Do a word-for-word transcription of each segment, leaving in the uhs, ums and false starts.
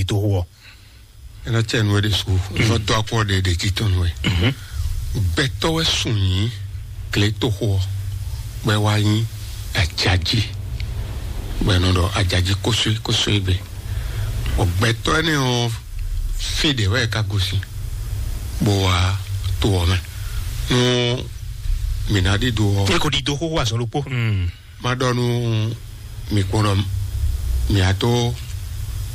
toxo ɔ́. Ena cɛ nu wɛ ɖe su, nɔ dɔ akɔ ɖe ɖe titɔn nu wɛ. Gbɛtɔ wɛ sun nyi gletoxo ɔ, wɛ wa nyi ajaji, wɛ nɔ ɖɔ ajaji kóso kóso gbe. Ɔ gbɛtɔ ɛnɛ ɔ, fi ɖe wɛ ka gosin, bó wa to ɔ mɛ. Nu mǐ ná ɖi do ɔ. E ko ɖi do xóxó azɔn ɖokpó. Ma ɖɔ nú mi kpɔ́n ɖɔ mi a tó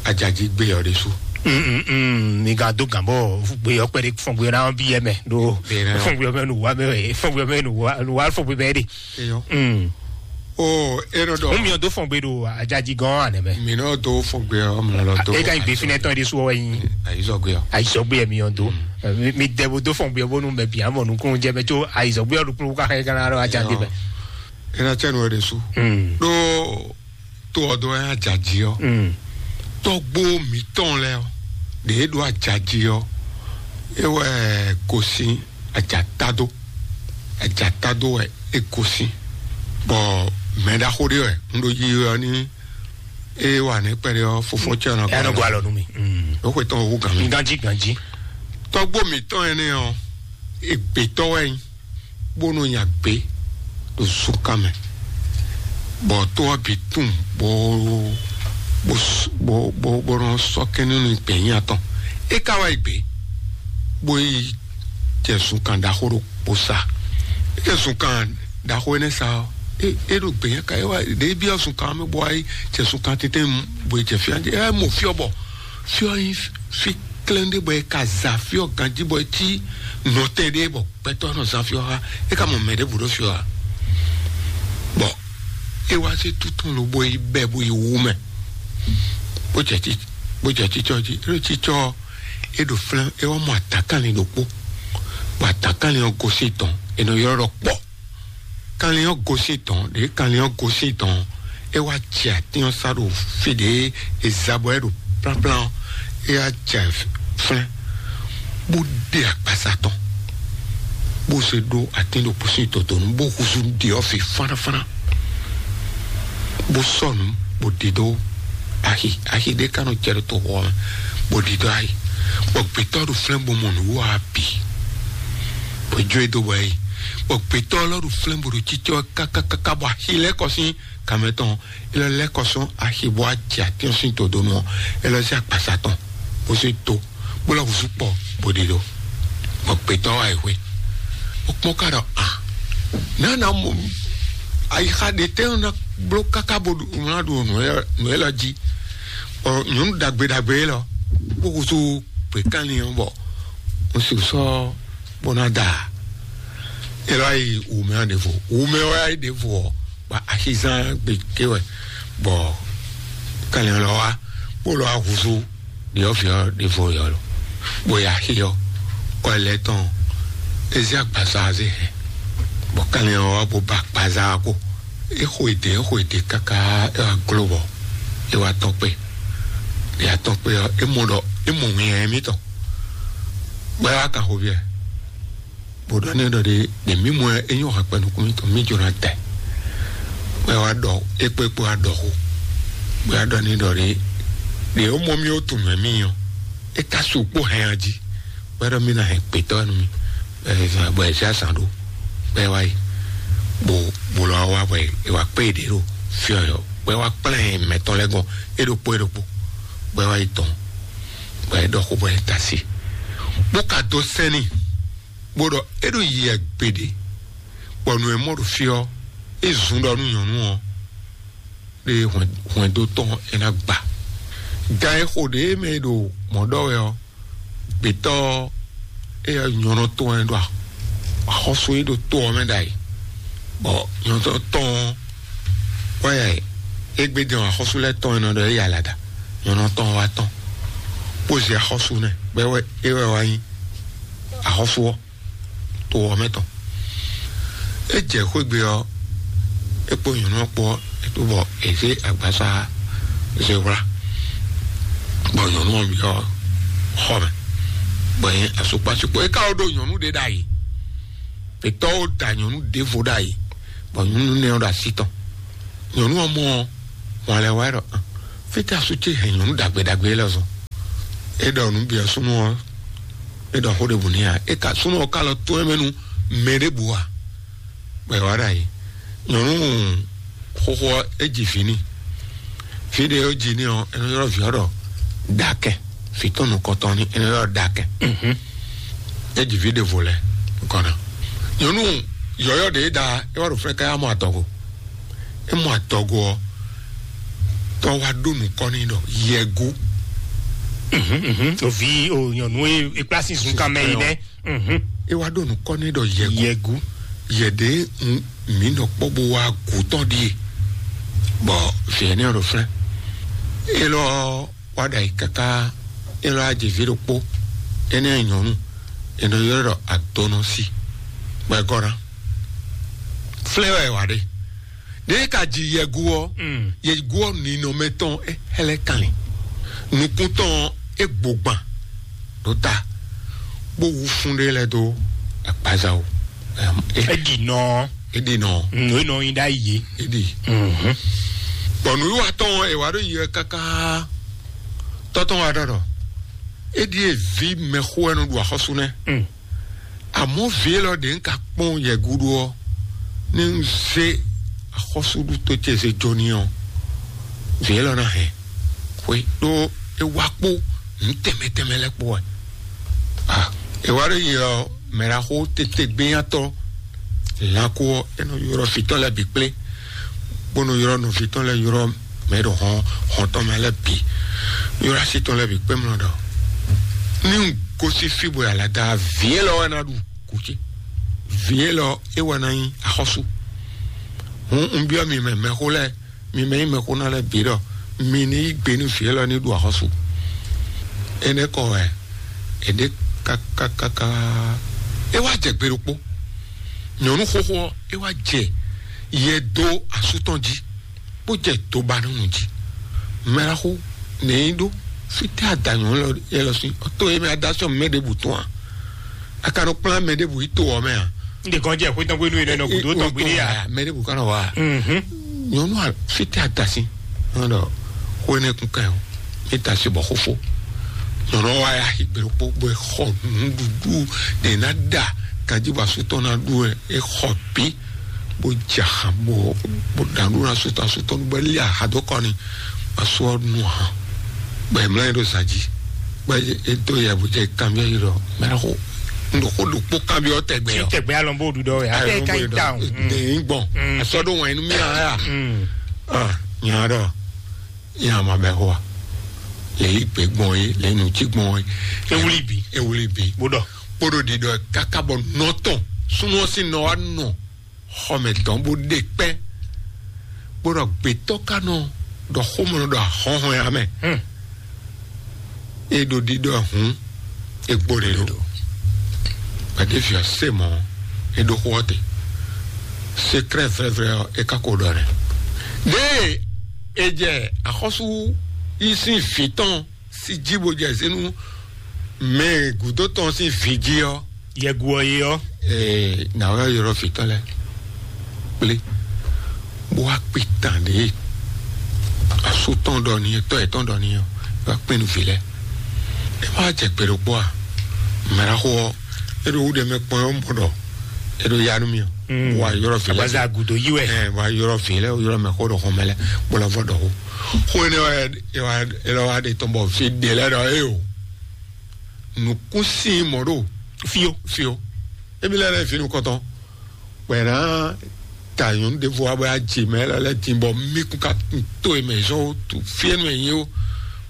ajaji gbe ɔ ɖésú. Mi ka dó gǎn bɔ gbé ɔkpɛ ɖé fɔn gbé ná bí yɛ mɛ ɖo fɔn gbé mɛ nù wá mɛ wɛ fɔn gbé mɛ nù wá nù wá fɔn gbé mɛ ɖe. Eyɔ. O e nɔ dɔ. Mo miɔ dó fɔn gbé ɖo ajaji gɔn anɛ mɛ. Mi nɔ dó fɔn gbé ɔ mlɔ lɔ dó. E ka yin gbé finɛ tɔn ɖésú ɔ yin. Ayizɔ gbé ɔ. Ayizɔ gbé yɛ miɔ dó. Mi dɛ bo dó fɔn gbé ɔ bónú mɛ bia mɔ nukún jɛ mɛ tso ayizɔ gbé ɔ ɖokpó ká xɛ gánà ɖo ajaji mɛ. Ena cɛ nu wɛ ɖe su. Ɖo to ɔ dó wɛ ajaji ɔ. Tɔgbo mǐtɔn lɛ ɔ ɖe e ɖo ajaji ɔ, e wɛ gosin ajatado. Ajatado wɛ e gosin. Bɔ mɛ ɖaxó ɖé wɛ un ɖo yi ɔ ní e wà ní kpɛɖé ɔ fofo cɛ ɔnɔ. Ɛ nɔ gɔ alɔ nú mi. Ó xwe tɔn owó gan mi. Ganji ganji. Tɔgbo mǐtɔn ɛnɛ ɔ, egbetɔ wɛ nyi bónú nya gbé ɖo zunkan mɛ, bɔ tó ɔ́ bǐ tunwun bó bó bó bó bó nɔ sɔ́ kɛ́n nú gbɛ̌nyá tɔn. É ka wá yi gbě, bó yi jɛ zunkan ɖaxó ɖokpó sa. É jɛ zunkan ɖaxó énɛ́ sa ɔ́, é é ɖo gbɛ̌nyá ka é wá ɖě byɔ́ zunkan ɔ́ mɛ bó wá yi jɛ zunkan tɛ́ntɛ́n bó yi jɛ fí ɔ́, é mɔ fí ɔ́ bɔ fí ɔ́ nyí fí klɛ́n ɖé bɔ è ka za fí ɔ́ ganjí bɔ è cí nɔtɛn ɖé bɔ gbɛtɔ́ nɔ zán fí ɔ́ xá. É ka mɔ mɛ ɖěbǔ ɖó fí ɔ́ ǎ. Bɔ é wá sí tútún lobo yi bɛ́ bó yi wú mɛ, bó jɛ tí bó jɛ títsɔ jí. É ɖo títsɔ ɔ́, é ɖo flɛ́n, é wá mɔ atǎkanlin ɖokpó, bɔ atǎkanlin ɔ́ gosín tɔn, è nɔ ylɔ́ ɖɔ kpɔ́. Kanlin ɔ́ gosín tɔn ɖě kanlin ɔ́ gosín tɔn, é wá jɛ atín ɔ́ sá ɖo fí ɖě è za bɔ é ɖo plánplán ɔ́, é wá jɛ flɛ́n, bó ɖe akpasa tɔn, bó zé ɖó atín ɖokpó sín dodonu, bó húzú ɖě ɔ́ fi fánafána, bó sɔ́ nǔ, bó ɖi dó axi axi ɖé ka nɔ jɛ ɖo toxo ɔ́ mɛ, bó ɖi dó axi. Bɔ gbětɔ́ ɖo flɛ́n bó mɔ nǔwiwa ɔ́ bǐ, bó jó e dó bɔ é yi. Bɔ gbětɔ́ lɔ ɖo flɛ́n bó ɖo cícɔ kákákáká, bɔ axi lɛ́ kɔ sín kanmɛ tɔn, é lɔ lɛ́ kɔ sɔ́ axi bó wá jɛ atín ɔ́ sín dodonu ɔ́, é lɔ zé akpasa tɔn, bó zé dó, bó lɔ húzú kpɔ, bó ɖi ɖó. Bɔ gbětɔ́ wá yi hwe, bó kpɔ́n ká ɖɔ a nǎ ná mɔ ayixa ɖe tɛ́ ná bló káká bó ɖu ná ɖu nǔ élɔ́ jí. Bɔ nyɔ̌nu ɖagbe ɖagbe élɔ́, bó húzú gběkanlin ɔ́, bɔ un sixú sɔ́ bó ná da. É lɔ yi wǔmɛ ɔ́ ɖěvo. Wǔmɛ ɔ́ yi ɖěvo ɔ́, bɔ axizán gbe ké wɛ, bɔ kanlin ɔ́ lɔ wá, bó lɔ wá húzú ɖyɔ̌vǐ ɔ́ ɖěvo yɔ lo, bó yi axi ɔ́, kɔ lɛ́ tɔn é zé agbaza zé hɛn, bɔ kanlin ɔ́ wá bó ba agbaza ɔ́ kpo. É xo èdè, é xo èdè káká é wá gló bɔ é wá tɔ́n kpé. É wá tɔ́n kpé ɔ́, é mɔ ɖɔ é mɔ winnyá émítɔn, bɔ é wá kan xo byɔ́ ɛ. Bó ɖɔ n'i ɖɔ ɖe ɖe mǐ mɔ ɛ, é nyɔ́ hɛkpɛ nukún mǐtɔn, mǐ jló ná tɛ. Bó wá ɖɔ é kpé kpó wá ɖɔ xó. Bó wá ɖɔ n'i ɖɔ ɖe ɖe ó mɔ mì ó tunwun mɛ mì ɔ́, é ka su kpó hɛn a jí. Bó wá ɖɔ mì ná hɛn gbětɔ́ nú mì, bɔ ɛ zé azǎn ɖó. Bó wá yi, bó bó lɔ wá bɔ è wá kpé ɖě ɖo fí ɔ́, bó wá kplá mɛtɔn lɛ́ɛ gɔn é ɖokpó é ɖokpó. Bó wá yi tɔn, bɔ é ɖɔ xó bɔ é ta sí, bó ka dó sɛ́n n'i. Bó ɖɔ é ɖo yi agbeɖé, bɔ nǔ e mɔ ɖo fí ɔ́, é zun ɖɔ nú nyɔ̌nu ɔ́ ɖe hwɛndo tɔn é ná gba. Gan e xo ɖě mɛ e ɖo mɔ̌ ɖɔ wɛ ɔ́, gbětɔ́ ɔ́, éyɛ́ nyɔ̌nu tɔn wɛ ɖo axɔ́sú e ɖo to ɔ́ mɛ ɖ'ayǐ, bɔ nyɔ̌nu tɔn ɔ́ wá ya é gbé dɛn axɔ́sú lɛ́ɛ tɔn e nɔ ɖɔ é ya lada. Nyɔ̌nu tɔn wá tɔn, bó zé axɔ́sú nɛ, bɔ é wɛ é wɛ wá nyí axɔ́sú ɔ́ to ɔ́ mɛ tɔn. É jɛ xwé gbe ɔ́, é kpó nyɔ̌nu ɔ́ kpó ɔ́, é tó bɔ è zé agbaza zé wlá, bɔ nyɔ̌nu ɔ́ byɔ́ xɔ mɛ, bɔ nyɛ asukpasukpo é ka wó ɖó nyɔ̌nu ɖé ɖ'ayǐ. Gbětɔ́ wó da nyɔ̌nu ɖěvo ɖ'ayǐ, bɔ nyɔ̌nu nɛ́ ɔ́ ɖo así tɔn. Nyɔ̌nu ɔ́ mɔ ɔ́, wǎn lɛ́ wá ɖɔ: "Fítɛ́ asú ce hɛn nyɔ̌nu ɖagbe ɖagbe élɔ́ zɔn?" É ɖɔ nǔ bǐ ɔ́ súnnu ɔ́, é ɖɔ xó ɖěbǔ n'i ǎ. É ka súnnu ɔ́ ka lɔ tó ɛ mɛ nú mɛ ɖěbǔ ǎ. Bɔ è wá ɖ'ayǐ. Nyɔ̌nu xóxó ɔ́, é ji vǐ n'i. Vǐ ɖě é ji n'i ɔ́, é nɔ ylɔ́ vǐ ɔ́ ɖɔ Ɖakɛ. Vǐ tɔn nukɔntɔn ní, é nɔ ylɔ́ ɖɔ Ɖakɛ. É ji vǐ ɖěvo lɛ́ɛ nukɔn ná. Nyɔ̌nu yɔ̌yɔ́ ɖě é ɖa, é wá ɖo fɛ́ káyá mɔ adɔgo. É mɔ adɔgo ɔ́, tɔ́ wá ɖó nukɔn n'i ɖɔ Yɛgu. Òvi o nyɔ̌nu e e kpla sín zunkan mɛ yi nɛ. É wá ɖó nukɔn n'i ɖɔ Yɛgu. Yɛgu. Yɛɖě mǐ nɔ kpɔ́ bó wá gǔ tɔn ɖíe. Bɔ vǐ énɛ́ ɔ́ ɖo flɛ́. Élɔ́ wá ɖo ayǐ káká. Élɔ́ wá jɛ vǐ ɖokpó. Énɛ́ nyɔ̌nu, è nɔ ylɔ́ ɖɔ adɔnɔsi. Bɔ é gɔ́ ná. Flɛ́ wɛ è wǎ ɖe. Ɖěe ka ji Yɛgu ɔ́, Yɛgu ɔ́ ninɔmɛ tɔn é hɛ́lɛ́ kanlin. Nukún tɔn é gbogban ɖó ta, bó wú fún ɖé lɛ́ɛ dó agbaza wú. É ɖi nɔ. É ɖi nɔ. É nɔ nyi ɖ'ayǐ. É ɖi. Bɔ nǔwiwa tɔn ɔ́, è wá ɖó yi wɛ káká. Tɔ́ tɔn wá ɖɔ ɖɔ é ɖíe vǐ mɛxó wɛ nɔ ɖu axɔ́sú nɛ́. Àmọ́ vǐ élɔ́ ɖě ń ka kpɔ́n yɛ gúdo ɔ́, ní un zé axɔ́súɖuto ce zé jó n'i ɔ́, vǐ élɔ́ ná hɛn xwé ɖó é wá kpó nǔ tɛnmɛ tɛnmɛ lɛ́ɛ kpó wɛ. Ah, è wá ɖo yi ɔ mɛɖaxó tete gbéyàtɔ lǎkó ɔ́, é nɔ ylɔ́ fǐtɔ́ lɛ́ɛ bǐ kplé, bó nɔ ylɔ́ nɔví tɔn lɛ́ɛ ylɔ́ mɛ ɖo hɔn hɔn tɔn mɛ lɛ́ɛ bǐ, ylɔ́ así tɔn lɛ́ɛ bǐ kpé mlɔ ɖɔ ní un gosín fí bɔ è alada vǐ élɔ́ wɛ ná ɖu kú ce. Vǐ élɔ́ é wɛ ná nyí axɔ́sú. Hǔn un byɔ́ mi mɛ mɛxó lɛ́ɛ, mi mɛ nyí mɛxó ná lɛ́ɛ bǐ ɖɔ mi ní yí gbe nú vǐ élɔ́ ní ɖu axɔ́sú. Énɛ́ kɔ wɛ è ɖě kákákáká. É wá jɛ gbe ɖokpó. Nyɔ̌nu xóxó ɔ́, é wá jɛ yɛ dó asú tɔn jí, bó jɛ dó ba nú nǔ jí. Mɛɖaxó nɛ̌ nyí ɖó fítɛ́ adanyɔ̌ élɔ́ sín? Tó e mɛ adásɔ́ mɛ ɖěbǔ tɔn a? A ka nɔ kplán mɛ ɖěbǔ yi to ɔ́ mɛ a? N ɖe kɔn jɛ xwé tɔn xwé nú yě nɔ gǔdo tɔn gbélé a? Mɛ ɖěbǔ ka nɔ wá a? Nyɔ̌nu a fítɛ́ adasín nɔ ɖɔ xó énɛ́ kún kan o. É da asi bɔ xófó. Nyɔ̌nu ɔ́ wá ya xi gbe ɖokpó bó e xɔ nǔɖuɖu ɖě ná ɖa ganjí bɔ asú tɔn ná ɖu wɛ é xɔ bǐ, bó jɛ axan bó bó ɖa nǔ ná sutɔ asú tɔn bó lé aha dó kɔ ni. Asú ɔ́ nu ahan bɔ è mlá yɛ ɖo zǎn jí bɔ é dó yɛ bó jɛ kanbyɔ́ yi ɖɔ mɛ xó un ɖo xó ɖokpó kanbyɔ́ tɛgbɛ ɔ. Tɛgbɛ alɔ bó ɖu ɖɔ wɛ. Ayi, ate ka yi ta o. Ɖe yi gbɔn asɔ ɖo wɛn nu mi aya. Ah, nya ɖɔ nya ma bɛ xó a. Lě yi gbě gbɔn é, lě yi nǔ cí gbɔn é. Ewuli bǐ. Ewuli bǐ. Bó ɖɔ. Kpóɖó ɖiɖɔ káká bɔ nɔ tɔn súnú ɔ́ sín nɔ wá nɔ xɔmɛ tɔn bó ɖe kpɛ́, bó ɖɔ gbětɔ́ ka nɔ ɖɔ xómɔ nɔ ɖɔ ahɔ́nhɔn ya mɛ. É ɖo ɖiɖɔ hǔn é gbó ɖe ɖo. Gbadévi ɔ́ se mɔ̌, é ɖó xó ɔ́ te. Sekrɛ́ vlɛ́vlɛ́ ɔ́, é ka ko ɖɔ nɛ́. Ɖěe è jɛ axɔ́sú yí sín vǐ tɔn sí jí bó jɛ zé nú mɛ gǔdo tɔn sín vǐ jí ɔ́. Yɛgu ɔ́ é ɔ́. Ee, nǎ wá ylɔ́ vǐ tɔn lɛ́ɛ kplé bó wá kpi tán ɖě asú tɔn ɖɔ n'i, tɔ́ yětɔn ɖɔ n'i ɔ́, é wá kpi nú vǐ lɛ́ɛ. É má jɛ gbe ɖokpó a? Mɛɖaxó ɔ́, é ɖo wúɖe mɛ kpɔ́n ɔ́ mɔ ɖɔ é ɖo ya nú mì ɔ́. Bó wá ylɔ́ vǐ lɛ́ɛ. Abaza gǔdo yí wɛ. Ɛ bó wá ylɔ́ vǐ lɛ́ɛ, ylɔ́ mɛ xó ɖo xɔmɛ lɛ́ɛ bó lɔ vɔ ɖɔ xó. Xó énɛ́ wɛ é wá é lɔ wá ɖe tɔn bɔ fí ɖě lɛ́ɛ ɖɔ é o. Nǔkún sín mɔ̌ ɖo fíó fíó. Émi lɛ́ɛ lɛ́ɛ fínú kɔntɔn. Bɔ è nǎ ta nyɔ̌nu ɖěvo wá bɔ é wá ji mɛ lɛ́ɛ lɛ́ɛ din bɔ mí kún ka to è mɛ zɔn ó, tu fí énú è nyí ó.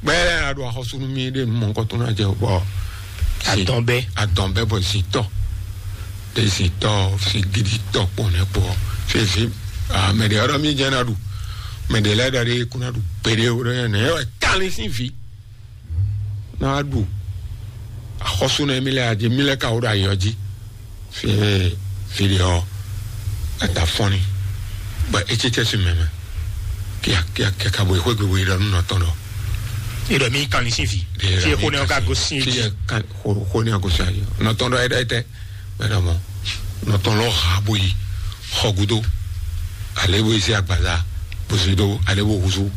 Bɔ é lɛ́ɛ ná ɖo axɔ́sú nú mí ɖé nu mɔ̌hunkɔtɔn ná jɛ bɔ Adɔn bɛ. Adɔn bɛ bɔ zintɔ ɖe zintɔ si gidi tɔ kpɔn nɛ kpɔ. Fífi mɛ ɖe ɔ́ ɖɔ mí jɛ ná ɖu. Mɛ ɖe lɛ́ɛ ɖɔ ɖe kún ná ɖu gbeɖé ó ɖɔ nɛ ɛ kálí sín vǐ. Ná wá ɖu axɔ́sú nɛ mí lɛ́ɛ adi mí lɛ́ɛ ka wó ɖo ayɔ jí. Fí fí ɖe ɔ́ ata fɔ́n ni. Bɔ é tsítsɛ sín mɛ mɛ. Kíá kíá kíá ka bo yi xwé gbogbo yi ɖɔ nú nɔ tɔn ɖɔ. Yi ɖɔ mí kan ní sín fi. Fi xó ní ɔ́ ka gosín jí. Fi yɛ kan xó xó ní ɔ́ gosín ayɔ. Nɔ tɔn ɖɔ é ɖɔ é tɛ. Mɛ ɖɔ mɔ. Nɔ tɔn lɔ ha bo yi xɔ gudo. Ale bo yi sí agbaza. Bosi do ale bo huzu.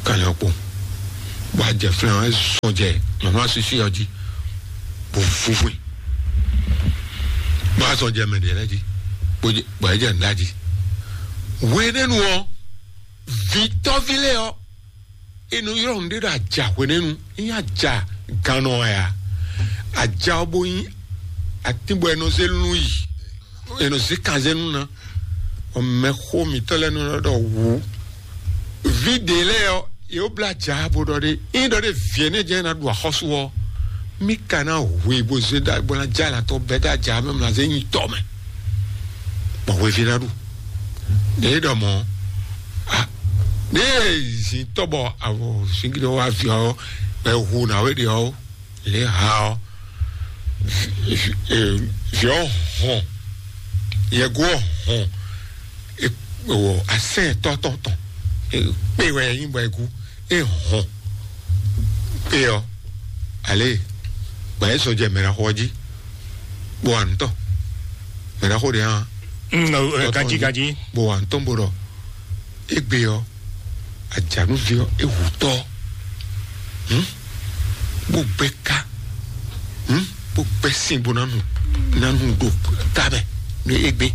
Kanyɔ kpo. Bɔ a jɛ flɛn ɔ́, é sɔn jɛ nyɔ̌nu asísí ɔ́ jí, bó vúvú i. Bó a sɔn jɛ mɛ ɖě lɛ́ɛ jí, bó jɛ, bɔ é jɛ nǔ ɖa jí. Hwenɛ́nu ɔ́, vǐtɔ́ví lɛ́ɛ ɔ́, è nɔ ylɔ́ nǔɖé ɖɔ aja hwenɛ́nu, é nyí aja gannɔ wɛ a? Aja ɔ́ bó nyí atín bɔ è nɔ zé lún yi, è nɔ zé kan zé lún ná. Bɔ mɛxó mǐtɔn lɛ́ɛ nɔ ɖɔ wǔ. Vǐ ɖě lɛ́ɛ ɔ́, yě wó blá aja bó ɖɔ ɖé, ényí ɖɔ ɖé vǐ énɛ́ jɛ́n ná ɖu axɔ́sú ɔ́, mí ka ná hu i bó zé ɖa bó ná jɛ alǎ tɔn bɛ́ dó aja mɛ, mlá zé nyi tɔ mɛ, bɔ hweví ná ɖu. Ɖě ɖɔ mɔ̌, a, ɖě zǐn tɔ́ bɔ avɔ zǐngíɖɔ wá vǐ ɔ́, bɔ è hu nǎwe ɖě ɔ́, lě ha ɔ́, vǐ ɔ́ hɔn, yɛgo ɔ́ hɔn, asɛn tɔ́ tɔn tɔn, kpé wɛ nyí bɔ è gu, é hɔn kpé ɔ́, alě, gbǎ é sɔ́ jɛ mɛɖaxó ɔ́ jí, bó wa nǔ tɔn, mɛɖaxó ɖě hã, Mm, ɔ, ɛ, tɔ́ tɔn ganjí, jí, ganjí. Bó wa nǔ tɔn bó ɖɔ, égbé ɔ́, ajǎnúví ɔ́, é hu tɔ́, hǔn, bó gbɛ́ ká, hǔn, bó gbɛ́ sin bó ná nu, ná nu ɖo ká mɛ, nú égbé.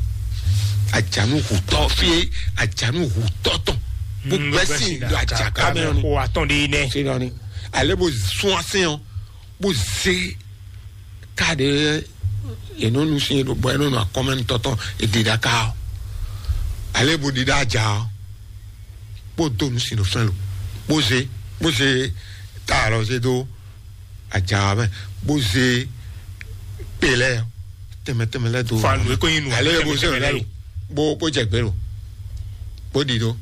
Ajǎnú hu tɔ́ fí é, ajǎnú hu tɔ́ tɔn, bó Mm, gbɛ́ bó gbɛ́ sin sin ɖo ɖo ajǎká mɛ ɔ́ ni. Xo atɔn ɖé nɛ. Fí nɔ ni. Ale bó sún asɛn ɔ́, bó zé ká ɖě è nɔ nu sín é ɖo bɔ é nɔ nɔ akɔmɛ nú tɔ́tɔn è ɖi ɖa ká ɔ́. Ale bó ɖi ɖa aja ɔ́, bó dó nu sín ɖo fɛn lo, bó zé, bó zé ta alɔ zé dó aja ɔ́ mɛ, bó zé kpe lɛ́ɛ tɛnmɛ tɛnmɛ lɛ́ɛ dó. Fa nu é kó nyi nu ale bó zé tɛnmɛ lɛ́ɛ lo, bó bó jɛ gbé lo, bó ɖi dó.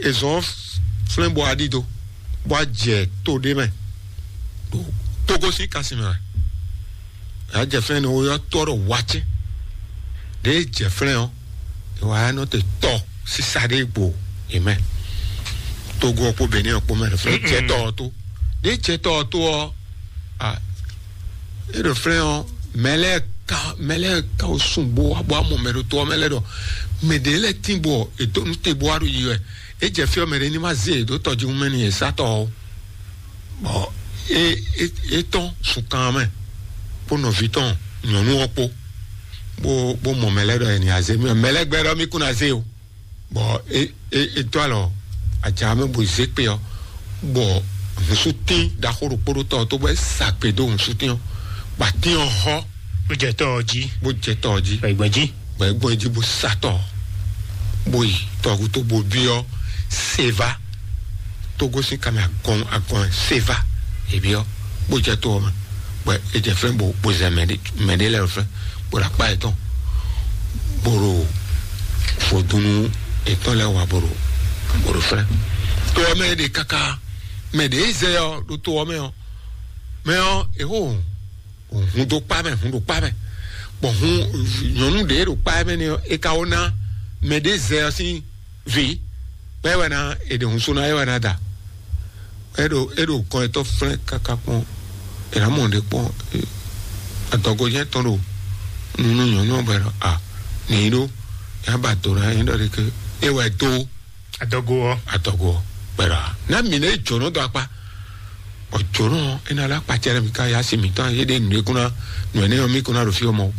È zɔn flɛ́n bó wá ɖi dó, bó wá jɛ to ɖé mɛ, ɖo Togo sín kasi mɛ wɛ. Yà jɛ flɛ́n ni wó yɔ tɔ́ ɖo wacɛ. Ɖě jɛ flɛ́n ɔ́, è wá nɔ te tɔ sisa ɖé gbo è mɛ. Togo ɔ́ kpó Benin ɔ́ kpó mɛ ɖo flɛ́n jɛ tɔ ɔ́ tó. Ɖě jɛ tɔ ɔ́ tó ɔ́, a, é ɖo flɛ́n ɔ́, mɛ lɛ́ɛ ka mɛ lɛ́ɛ ka wo sun bó wá bó wá mɔ mɛ ɖo to ɔ́ mɛ lɛ́ɛ ɖɔ mɛ ɖě lɛ́ɛ tín bɔ è dó nú te bó wá ɖo yi wɛ. É jɛ fí ɔ́, mɛ ɖě ní ma zé è ɖó tɔjíhún mɛ n'i è sá tɔ ɔ́. Bɔ é é é tɔ́n sunkan mɛ kpó nɔví tɔn nyɔ̌nu ɔ́ kpó, bó bó mɔ mɛ lɛ́ɛ ɖɔ è nǐ azé mì, mɛ lɛ́ɛ gbɛ́ ɖɔ mì kún ná zé o. Bɔ é é é dó alɔ aja mɛ bó zé kpe ɔ́, bɔ hǔnsútín ɖaxó ɖokpó ɖó tɔ ɔ́ tó, bɔ é sa gbe dó hǔnsútín ɔ́, bɔ atín ɔ́ hɔ́, Bó jɛ tɔ ɔ́ jí. Bó jɛ tɔ ɔ́ jí. Bɔ ìgbɔn jí. Bɔ é gbɔn jí bó sa tɔ, bó yi tɔgútó bó byɔ́ Seva, Togo sín kanmɛ agɔn agɔn Seva, è byɔ́, bó jɛ to ɔ́ mɛ, bɔ é jɛ flɛ́n bó bó zɛ mɛ ɖé mɛ ɖé lɛ́ɛ ɖo flɛ́n, bó ɖo akpá yětɔn, bó ɖo vodúnú yětɔn lɛ́ɛ wa bó ɖo bó ɖo flɛ́n. To ɔ́ mɛ é ɖe káká, mɛ ɖě zɛ ɔ́ ɖo to ɔ́ mɛ ɔ́, mɛ ɔ́ è xó hun dó kpá mɛ, hun dó kpá mɛ, bɔ hun nyɔ̌nu ɖě ɖo kpá mɛ n'i ɔ́, è ka wó ná mɛ ɖé zɛ ɔ́ sín vǐ, bɔ é wɛ ná è ɖe hun sú ná é wɛ ná da. É ɖo é ɖo kɔn etɔ́ flɛ́n káká kpɔ́n, è nǎ mɔ ɖě kpɔ́n, adɔgɔjɛ tɔn ɖo nunu nyɔ̌nu ɔ́ bɔ è ɖɔ a nǐ ɖó, é ba do ná é ɖɔ ɖě ké é wɛ dó. Adɔgo ɔ́. Adɔgo ɔ́, kpɛɖɔ a ná mǐ nɛ jǒnɔ dɔ akpa. Bɔ jǒnɔ ɔ́, é ná lɛ́ akpa cɛ ɖé mǐ ká yá si mǐtɔn yé ɖé nǔ e kún ná nǔ énɛ́ ɔ́ mì kún ná ɖo fí ɔ́ mɔ.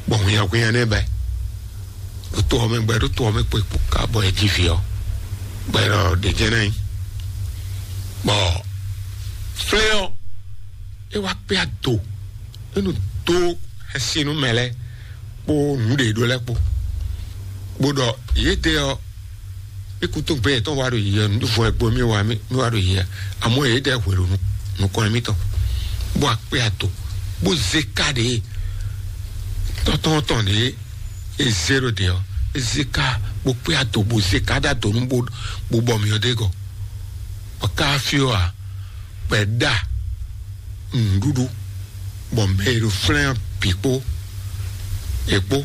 Bɔ hwinnyahwinnya nɛ́ bɛ ɖo to ɔ́ mɛ gbɛ ɖo to ɔ́ mɛ kpó kpó ká bɔ é jí vǐ ɔ́, gbɛ ɖɔ ɖě jɛ́n ná nyí. Bɔ flɛ́ ɔ́, é wá kpé ado, é nɔ dó xɛsi nú mɛ lɛ́ɛ kpó nǔɖé ɖó lɛ́ɛ kpó, bó ɖɔ yědɛɛ ɔ́, mí kútúgbé yětɔn wá ɖo yiyɛ, nǔɖuɖu ɛ gbo mí wá mí wá ɖo yiyɛ, amɔ̌ yědɛɛ hwe ɖo nukɔn mítɔn, bó akpé ato, bó zé ká ɖě tɔ́tɔ́n tɔn ɖě é zé ɖo ɖě ɔ́, é zé ká bó kpé ato bó zé ká ɖó ado nú bó bó bɔ mǐ ɔ́ ɖ'é gɔ́. Bɔ ká fí ɔ́ ǎ, bɔ è ɖa nǔɖuɖu, bɔ mɛ e ɖo flɛ́n ɔ́ bǐ kpó è kpó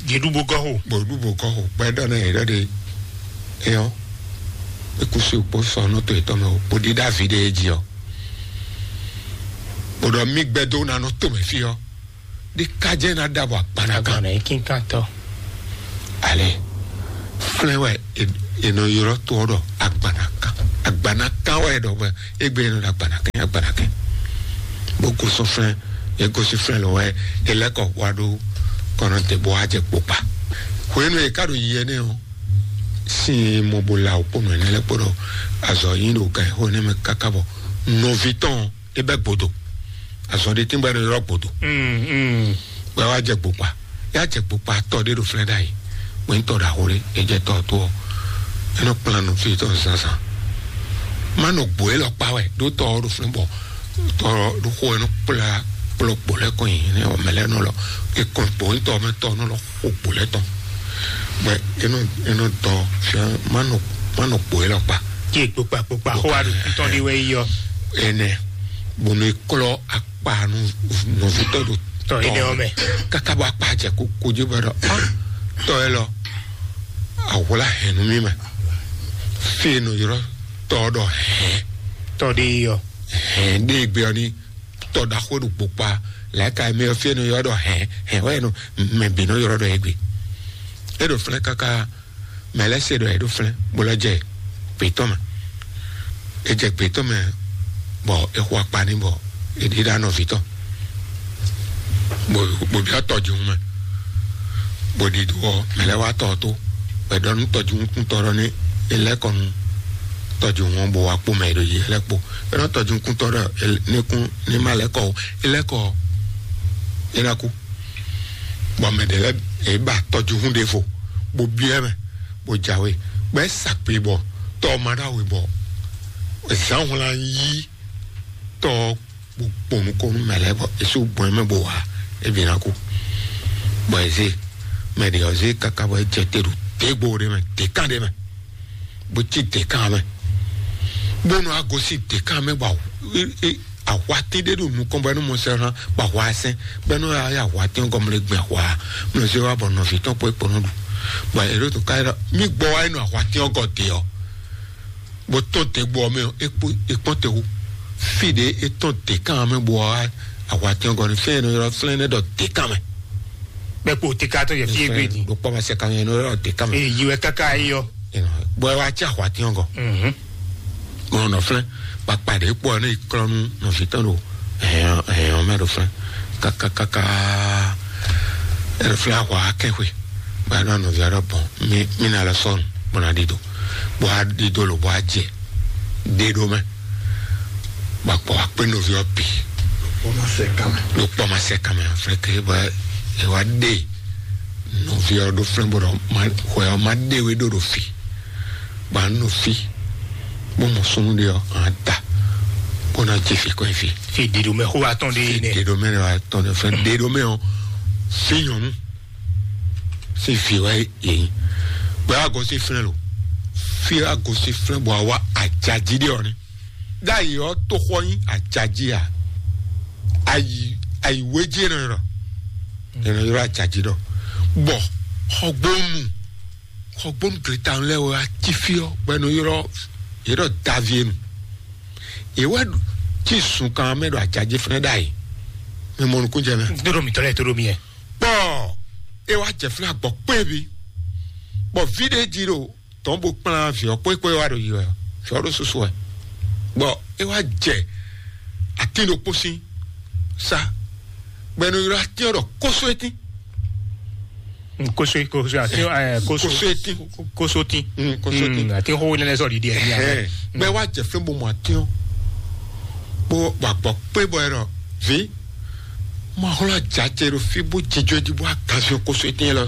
Jeɖu bó gɔ́ xo. Bɔ ɖu bó gɔ́ xo, bɔ é ɖɔ nú yě ɖɔ ɖe é ɔ́, é kú sí kpó sɔ nú to yětɔn mɛ o, bó ɖíɖá vǐ ɖé é jí ɔ́, bó ɖɔ mí gbɛdó ná nɔ to mɛ fí ɔ́, ɖé ká jẹ́ ná ɖa bɔ agbanagán. Agbanɛ kínkantɔ. Ale flɛ́ wɛ è nɔ ylɔ́ to ɔ́ ɖɔ agbanagán, agba Ana kan wɛ ɖɔ mɛ, egbe nɔ ɖo agbanakɛn agbanakɛn. Bó gosɔn flɛn, e gosi flɛn lɔ wɛ, e lɛ kɔ wa ɖo kɔnɔ te bó wá jɛ kpokpa. Hwenu e ka ɖo yi ɛnɛ ɔ, sin mɔ bo la o kpɔnɔ ɛnɛ lɛ kpɔnɔ azɔ yin ɖo gan xo ɛnɛ mɛ kaka bɔ nɔvi tɔn e bɛ gbodo. Azɔ ɖe tɛn bɛ ɖo yɔrɔ gbodo. Mm, mm. Bɛ wa jɛ gbokpa, ya jɛ gbokpa tɔ ɖe ɖo flɛn ɖa yi. Wɛn tɔ ɖa xo ɖe, e jɛ tɔ to ɔ, e nɔ kplán nɔ fi tɔ zazan. Ma nɔ gbo e lɔ kpa wɛ ɖo tɔ ɔ ɖo flɛn bɔ tɔ ɖo xo e nɔ kplá kplɔ gbo lɛ kɔn yi ne ɔ mɛ lɛ nɔ lɔ, e kɔn gbo ŋutɔ mɛ tɔ nɔ lɔ xo gbo lɛ tɔn. Bɛ e nɔ e nɔ dɔ fia ma nɔ ma nɔ gbo e lɔ kpa. Kí ekpokpa kpokpa xó wa ɖo kútɔn ɖi wɛ yi yɔ. Ɛnɛ bonu e klɔ akpa nu nɔvitɔ ɖo Tɔ yi ɖe ɔ mɛ. Kaka bɔ akpa jɛ ko ko dzi bɔ ɖɔ ah, tɔ yɛ lɔ, awla hɛn nu mi mɛ. Fi e nɔ yrɔ tɔ ɖɔ hɛn. Tɔ ɖe yi yɔ. Hɛn ɖe gbe ɔ ni tɔ ɖaxo ɖo kpokpa. Lɛka mi ɔ fi e nɔ yrɔ ɖɔ hɛn hɛn wɛ nɔ mɛ bi nɔ yrɔ ɖɔ egbe. E ɖo flɛ kaka mɛ lɛ se ɖɔ e ɖo flɛ bó lɔ jɛ gbetɔ mɛ. E jɛ gbetɔ mɛ bɔ e xɔ akpa ni bɔ e ɖi ɖa nɔvi tɔn. Bo bo bia tɔjihun mɛ, bo ɖi do ɔ mɛ lɛ wa tɔ to bɛ ɖɔ nu tɔjihun kun tɔ ɖɔ ni e lɛ kɔ nu tɔjihun ɔ bo wa kpo mɛ e ɖo yi e lɛ kpo. E nɔ tɔjihun kun tɔ ɖɔ ne kun ne ma lɛ kɔ o, e lɛ kɔ o, e na ku. Bɔn mɛ ɖe lɛ e ba tɔjihun ɖe vo bo biɛ mɛ bo jawe bɛ sakpe bɔ tɔ ma ɖo awe bɔ zan wlan yi tɔ kpokpo nukɔn nú mɛ lɛ́ɛ bɔ é sú gbɔn mɛ bó wá é bǐ ná kú. Bɔ é zé mɛ ɖě ɔ́ zé káká bɔ é jɛ te ɖo dégbó ɖé mɛ, děkan ɖé mɛ, bó cí děkan mɛ, bó nɔ á gosín děkan mɛ bɔ ahwatín ɖé ɖo nukɔn bɔ é nɔ mɔ sɛ ná bɔ ahwa sɛn bɔ é nɔ yá ahwatín ɔ́ gɔmlé gbɛn ahwa mlɔ zé wá bɔ nɔví tɔn kpó é kpó nɔ ɖu. Bɔ é ɖo tó ká é ɖɔ mí gbɔ wá é nɔ ahwatín ɔ́ gɔ dě ɔ́ bó tɔn te gbɔ mɛ ɔ é kpɔn te wu fi ɖe é tɔn te kan mɛ bɔ ahwa tiɔn gɔ ni fɛn nɔ yɔrɔ flɛn ne dɔ te kan mɛ. Bɛ kpo te ka tɔ yɛ fi egbe di. Ɖo kpɔ ma se kan yɛ nɔ yɔrɔ te kan mɛ. Ee yi wɛ kaka yi yɔ. Bɔ ɛ wa tsi ahwa tiɔn gɔ. Mhm. Mɔ nɔ flɛn kpakpa ɖe kpɔ ne klɔnu nɔvi tɔn ɖo ɛhɛn ɛhɛn mɛ ɖo flɛn kakakaka. Ɛɖo flɛn ahwa akɛxwe ba nɔ nɔvi aɖɔ bɔn mi mi na lɛ sɔnu bɔn na ɖi do bɔ a ɖi do lo bɔ a jɛ ɖe ɖo mɛ. Gbakpɔ akpé nɔvi ɔ bi ɖo kpɔ ma sɛ kan mɛ flɛ ke bɔ e wa ɖe nɔvi ɔ ɖo flɛ bɔ ɖɔ ma xɔ ɔ ma ɖe we ɖo ɖo fi ba nɔ fi bó mɔ sunu ɖe ɔ an ta bó na jɛ fi kɔ fi. Fi ɖiɖo mɛ xó wa tɔn ɖe yi nɛ. Ɖiɖo mɛ wa tɔn ɖe fɛ ɖiɖo mɛ ɔ fi nyɔnu fi fi wa yi yi gbɛ wa gɔsi flɛ lo fi wa gɔsi flɛ bɔ wa ajaji ɖe ɔ ni. Ɖ'ayǐ ɔ́, toxɔ nyí ajají a? Ayi ayi wéjí e nɔ ylɔ́ e nɔ ylɔ́ ajají ɖɔ. Bɔ xɔgbónu xɔgbónu gleta lɛ́ɛ wɛ wá cí fí ɔ́ bɔ e nɔ ylɔ́ yě ɖɔ Davienu. Yě wɛ cí zunkan mɛ ɖo ajají fɛnɛ ɖ'ayǐ. Mi mɔ nukúnjɛ mɛ. Dóɖo mǐtɔn lɛ́ɛ dóɖo mì yɛ. Bɔ é wá jɛ fɛnɛ agbɔ kpé bi. Bɔ ví ɖé jí ɖo tɔn bó kplán vǐ ɔ́ kpókpó e wá ɖo yi wɛ ɔ́, vǐ ɔ́ ɖo susu wɛ, bɔ é wá jɛ atín ɖokpó sín sá, bɔ è nɔ ylɔ́ atín ɔ́ ɖɔ kósó etín. Kóso kóso àti ẹ kóso Kóso etín. Kóso tín. Mm, kóso tín. Àti xó nínú sọ dídí ẹ ní abẹ. Ẹhẹn. Bɛ wá jẹ fún bó mọ atín ɔ́, bó gbàgbọ́ pé bɔ ẹ nɔ ví, mo xlɔ jajɛ ɖo fí bó jijɔ jí bó aganzɔ kóso etín lɔ.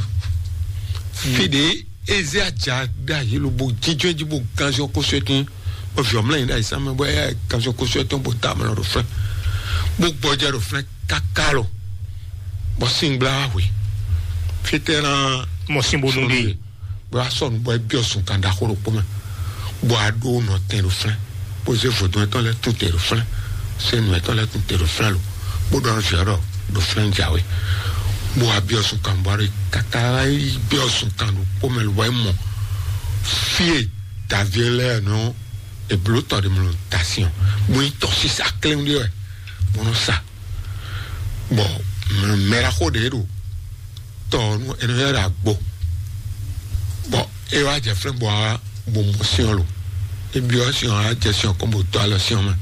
Fi ɖe eze aja ɖe ayi lo bo jijɔ ji bo ganzɔ kóso etɔn, bɔ viɔ mlɛ yin ɖe ayi samɛ bɔ eya ganzɔ kóso etɔn bo da mlɔ ɖo flɛ, bo gbɔjɛ ɖo flɛ kaka lo, bɔ singbla hwe fitɛ na mɔ sin bo nu de. Bɔ asɔ nu bɔ ebiɔ sun kan da xo ɖokpo mɛ, bɔ aɖo nɔ tɛn ɖo flɛ. Bó zé vodún ɛtɔn lɛ́ɛ tún te ɖo flɛ́, zé nǔ ɛtɔn lɛ́ɛ tún te ɖo flɛ́ lo, bó ɖɔ nú vǐ ɔ́ ɖɔ ɖo flɛ́ un jǎwe, bó wá byɔ́ zunkan bó wá ɖo kaka yi byɔ́ zunkan ɖokpó mɛ lo wá yi mɔ fí e daví lɛ́ɛ nɔ èbló tɔ ɖe mɔ ta sin ɔ, bó yi tɔ sísá kléwún ɖé wɛ bó nɔ sa, bɔ mɛɖaxó ɖě ɖo tɔ ɔ́ nú é nɔ ylɔ́ ɖɔ agbo, bɔ é wá jɛ flɛ́ bɔ wá bo mɔ sin ɔ́ lo. E byɔ́ sin ɔ́, á jɛ sin ɔ́ kɔn bó dó alɔ sin ɔ́ mɛ,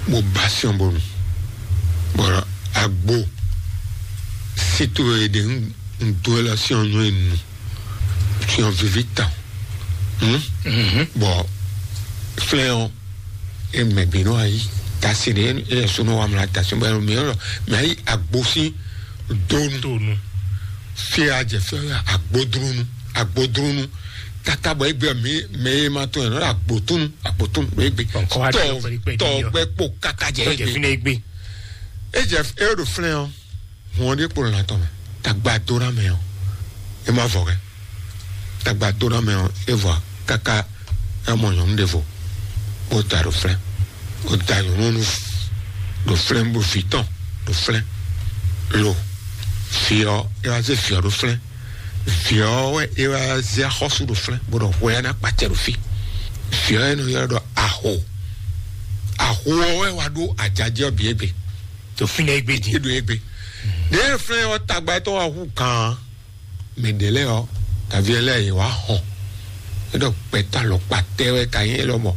bó ba sin ɔ́ bónú. Bɔ agbo sí to e ɖe un dó e lɔ sin ɔ́ nyɔ́ e nu, sin ɔ́ víví tawun. Bɔ flɛ́n ɔ́, e mɛ bǐ nɔ ayi tasi ɖe, e yɛ so nɔ wa mla tasi bɔ mɛ ɔ́ mɛ ayi agbo sín donu. Donu. Fia jɛ fia agbodrunu, agbodrunu. Tata bɔ egbe mi mɛ e ma tɔn yɛ nɔ agbotunu, agbotunu egbe. Tɔ gbɛ kpo kaka jɛ egbe. Egbe. E jɛ e ɖo flɛn ɔ́, hɔn ɖe kpo lɔn atɔ mɛ. Tagba dona mɛ ɔ́, e ma vɔ kɛ. Tagba dona mɛ ɔ́, e vɔ kaka e mɔ nyɔnu ɖe vo, bó da ɖo flɛn. O da nyɔnu nu ɖo flɛn, bó fi tɔn ɖo flɛn. Lo fi ɔ́, e wá zé fi ɔ́ ɖo flɛn. Vǐ ɔ́ wɛ é wá zé axɔ́sú ɖo flɛ́n, bó ɖɔ hwɛ ɔ́ ná kpacɛ ɖo fí. Vǐ ɔ́ e nɔ ylɔ́ ɖɔ aho. Aho ɔ́ wɛ wá ɖó ajají ɔ́ bǐ égbé. Ɖo fínɛ́ égbé din. É ɖo égbé. Ɖěe flɛ́n ɔ́ tagba tɔn wá hú gǎn, mɛ ɖě lɛ́ɛ ɔ́, daví lɛ́ɛ yě wá hɔn. É ɖɔ gbɛtɔ́ alɔkpa tɛ́ wɛ ka nyí élɔ́ mɔ.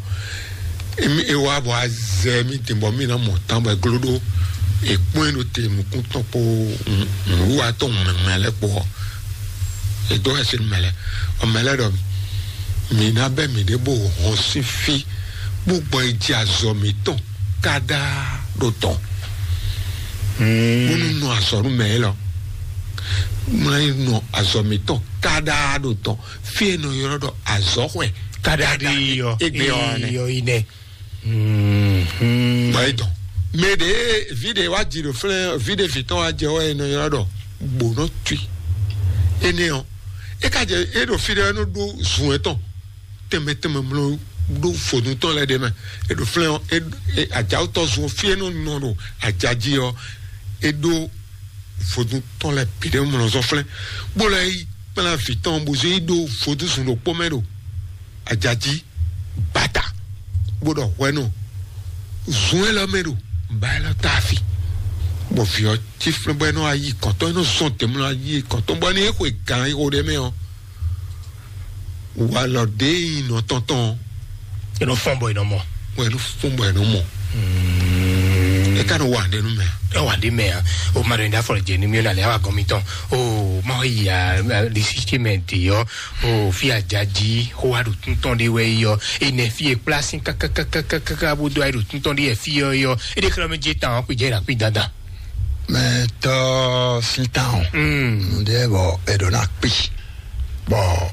Emi e wá bɔ azɛ mi din bɔ mi ná mɔ tán bɔ e gló ɖó, e kpɔ́n ɛ ɖo te nukún tɔn kpó nǔwiwa tɔn mɛmɛ lɛ́ɛ kpó ɔ́, e dó ɛsɛ nú mɛ lɛ́ɛ. Ɔ mɛ lɛ́ɛ ɖɔ mi ná bɛ mi ɖě bó hɔn sín fí bó gbɔ yi ji azɔ mǐtɔn káɖá ɖo tɔn. Bónú nɔ azɔ nú mɛ élɔ́, mlá yi nɔ azɔ mǐtɔn káɖá ɖo tɔn, fí e nɔ ylɔ́ ɖɔ azɔ̌xwɛ káɖá ɖi yɔ égbé ɔ́ nɛ. Yɔ yi nɛ. Bɔ é dɔn mɛ ɖě vi ɖě wá ji ɖo flɛ́n vi ɖě vi tɔn wá jɛ wɛ e nɔ ylɔ́ ɖɔ gbǒnɔ tui. Énɛ́ ɔ́, é ka jɛ é ɖo fí ɖé é nɔ ɖó zun etɔn tɛnmɛ tɛnmɛ mlɔ ɖó vodun tɔn lɛ ɖe mɛ. É ɖo flɛ́n ɔ́, é ajawutɔ zun fí é nɔ nɔ ɖo ajají ɔ́, é ɖó vodun tɔn lɛ bǐ ɖé mlɔ zɔn flɛ́n, bó lɛ́ yi kplá vǐ tɔn bó zé yi ɖó vodun zun ɖokpó mɛ ɖo ajají bata, bó ɖɔ hwɛnu zun élɔ́ mɛ ɖo ba élɔ́ ta afi. Bɔ vǐ ɔ́ cí flɛ́n bɔ é nɔ ayi kɔntɔn, é nɔ zɔn tɛ̌mlɔ ayi kɔntɔn bɔ ní é xwe gǎn xo ɖé mɛ ɔ́, walɔ ɖě nyi nɔ tɔn tɔn e nɔ fɔn bɔ e nɔ mɔ. Wɛ nu fún bɔ ɛnu mɔ. Eka nɔ wa ɖe nu mɛ. Ɛ wa ɖe mɛ a. O ma ɖo yin da fɔlɔ jɛ ni mi o na le awa gɔn mi tɔn. O ma yi ya lisi tse mɛ de yɔ. O fi ajaji xo wa ɖo tuntɔn de wɛ yɔ. Enɛ fi e kpla sin kakakakaka bo do ayi ɖo tuntɔn de yɛ fi yɔ yɔ. E de kɛlɛ mi je tan kpi jɛ la kpi dandan. Mɛ tɔ sin tan o. Nde bɔ e ɖo na kpi. Bɔ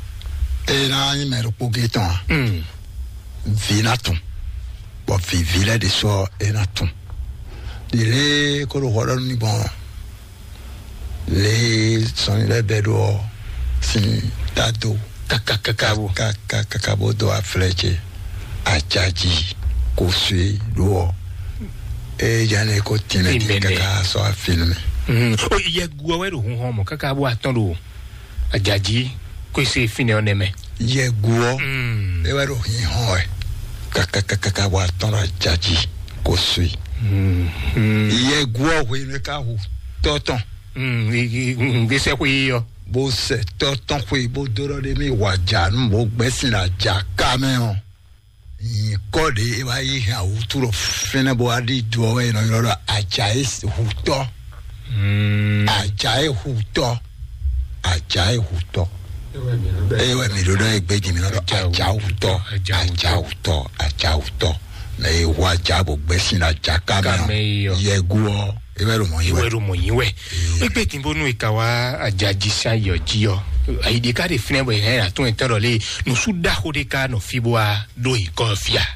e na nyi mɛ ɖokpo ge tɔn a. Vi na tun. Bɔ vivi lɛ de sɔ e na tun. Ɖile ko ɖo xɔ ɖɔ nú mi gbɔn. Le sɔnni lɛ bɛ ɖo ɔ sin ta do. Kakakaka bo. Kakakaka bo do aflɛ ce. Ajaji ko sue ɖo ɔ. E jane ko tɛmɛ di kaka sɔ afinu mi. O yɛ gu ɔ wɛ ɖo hun hɔn mɔ kaka bo atɔn ɖo. Ajaji ko ese fine ɔ nɛmɛ. Yɛ gu ɔ. E wɛ ɖo hin hɔn wɛ. Kakakaka bo atɔn ɖo ajaji ko sue. Yɛ gu ɔ hwenu e ka hu tɔ tɔn. Gbèsè kò yí yɔ. Bó sɛ tɔ tɔn xwe bó dó ɖɔ ɖé mi wà jà nù bó gbɛ́ sin là jà ká mɛ ɔ. Nyǐkɔ ɖé e wá yí hɛn awútu ɖo fínɛ́ bó wá ɖi do ɔ́ wɛ è nɔ ylɔ́ ɖɔ ajayi hutɔ. Ajayi hutɔ. Ajayi hutɔ. Eye wɛ mi ɖo ɖɔ egbe jì mi nɔ ɖɔ ajawutɔ. Ajawutɔ. Ajawutɔ. Mɛ e hu aja bó gbɛ́ sin là jà ká mɛ ɔ. Yɛgu ɔ. Ewɛ ɖo mɔ yi wɛ. Ewɛ ɖo mɔ yi wɛ. Egbe tin bonu eka wa ajaji sa yɔ ji ɔ. Ayi ɖeka ɖe finɛ bɔ yɛ atún etɔn ɖɔ le nusu ɖaxo ɖeka nɔ fi bo wa ɖo yi kɔ fia.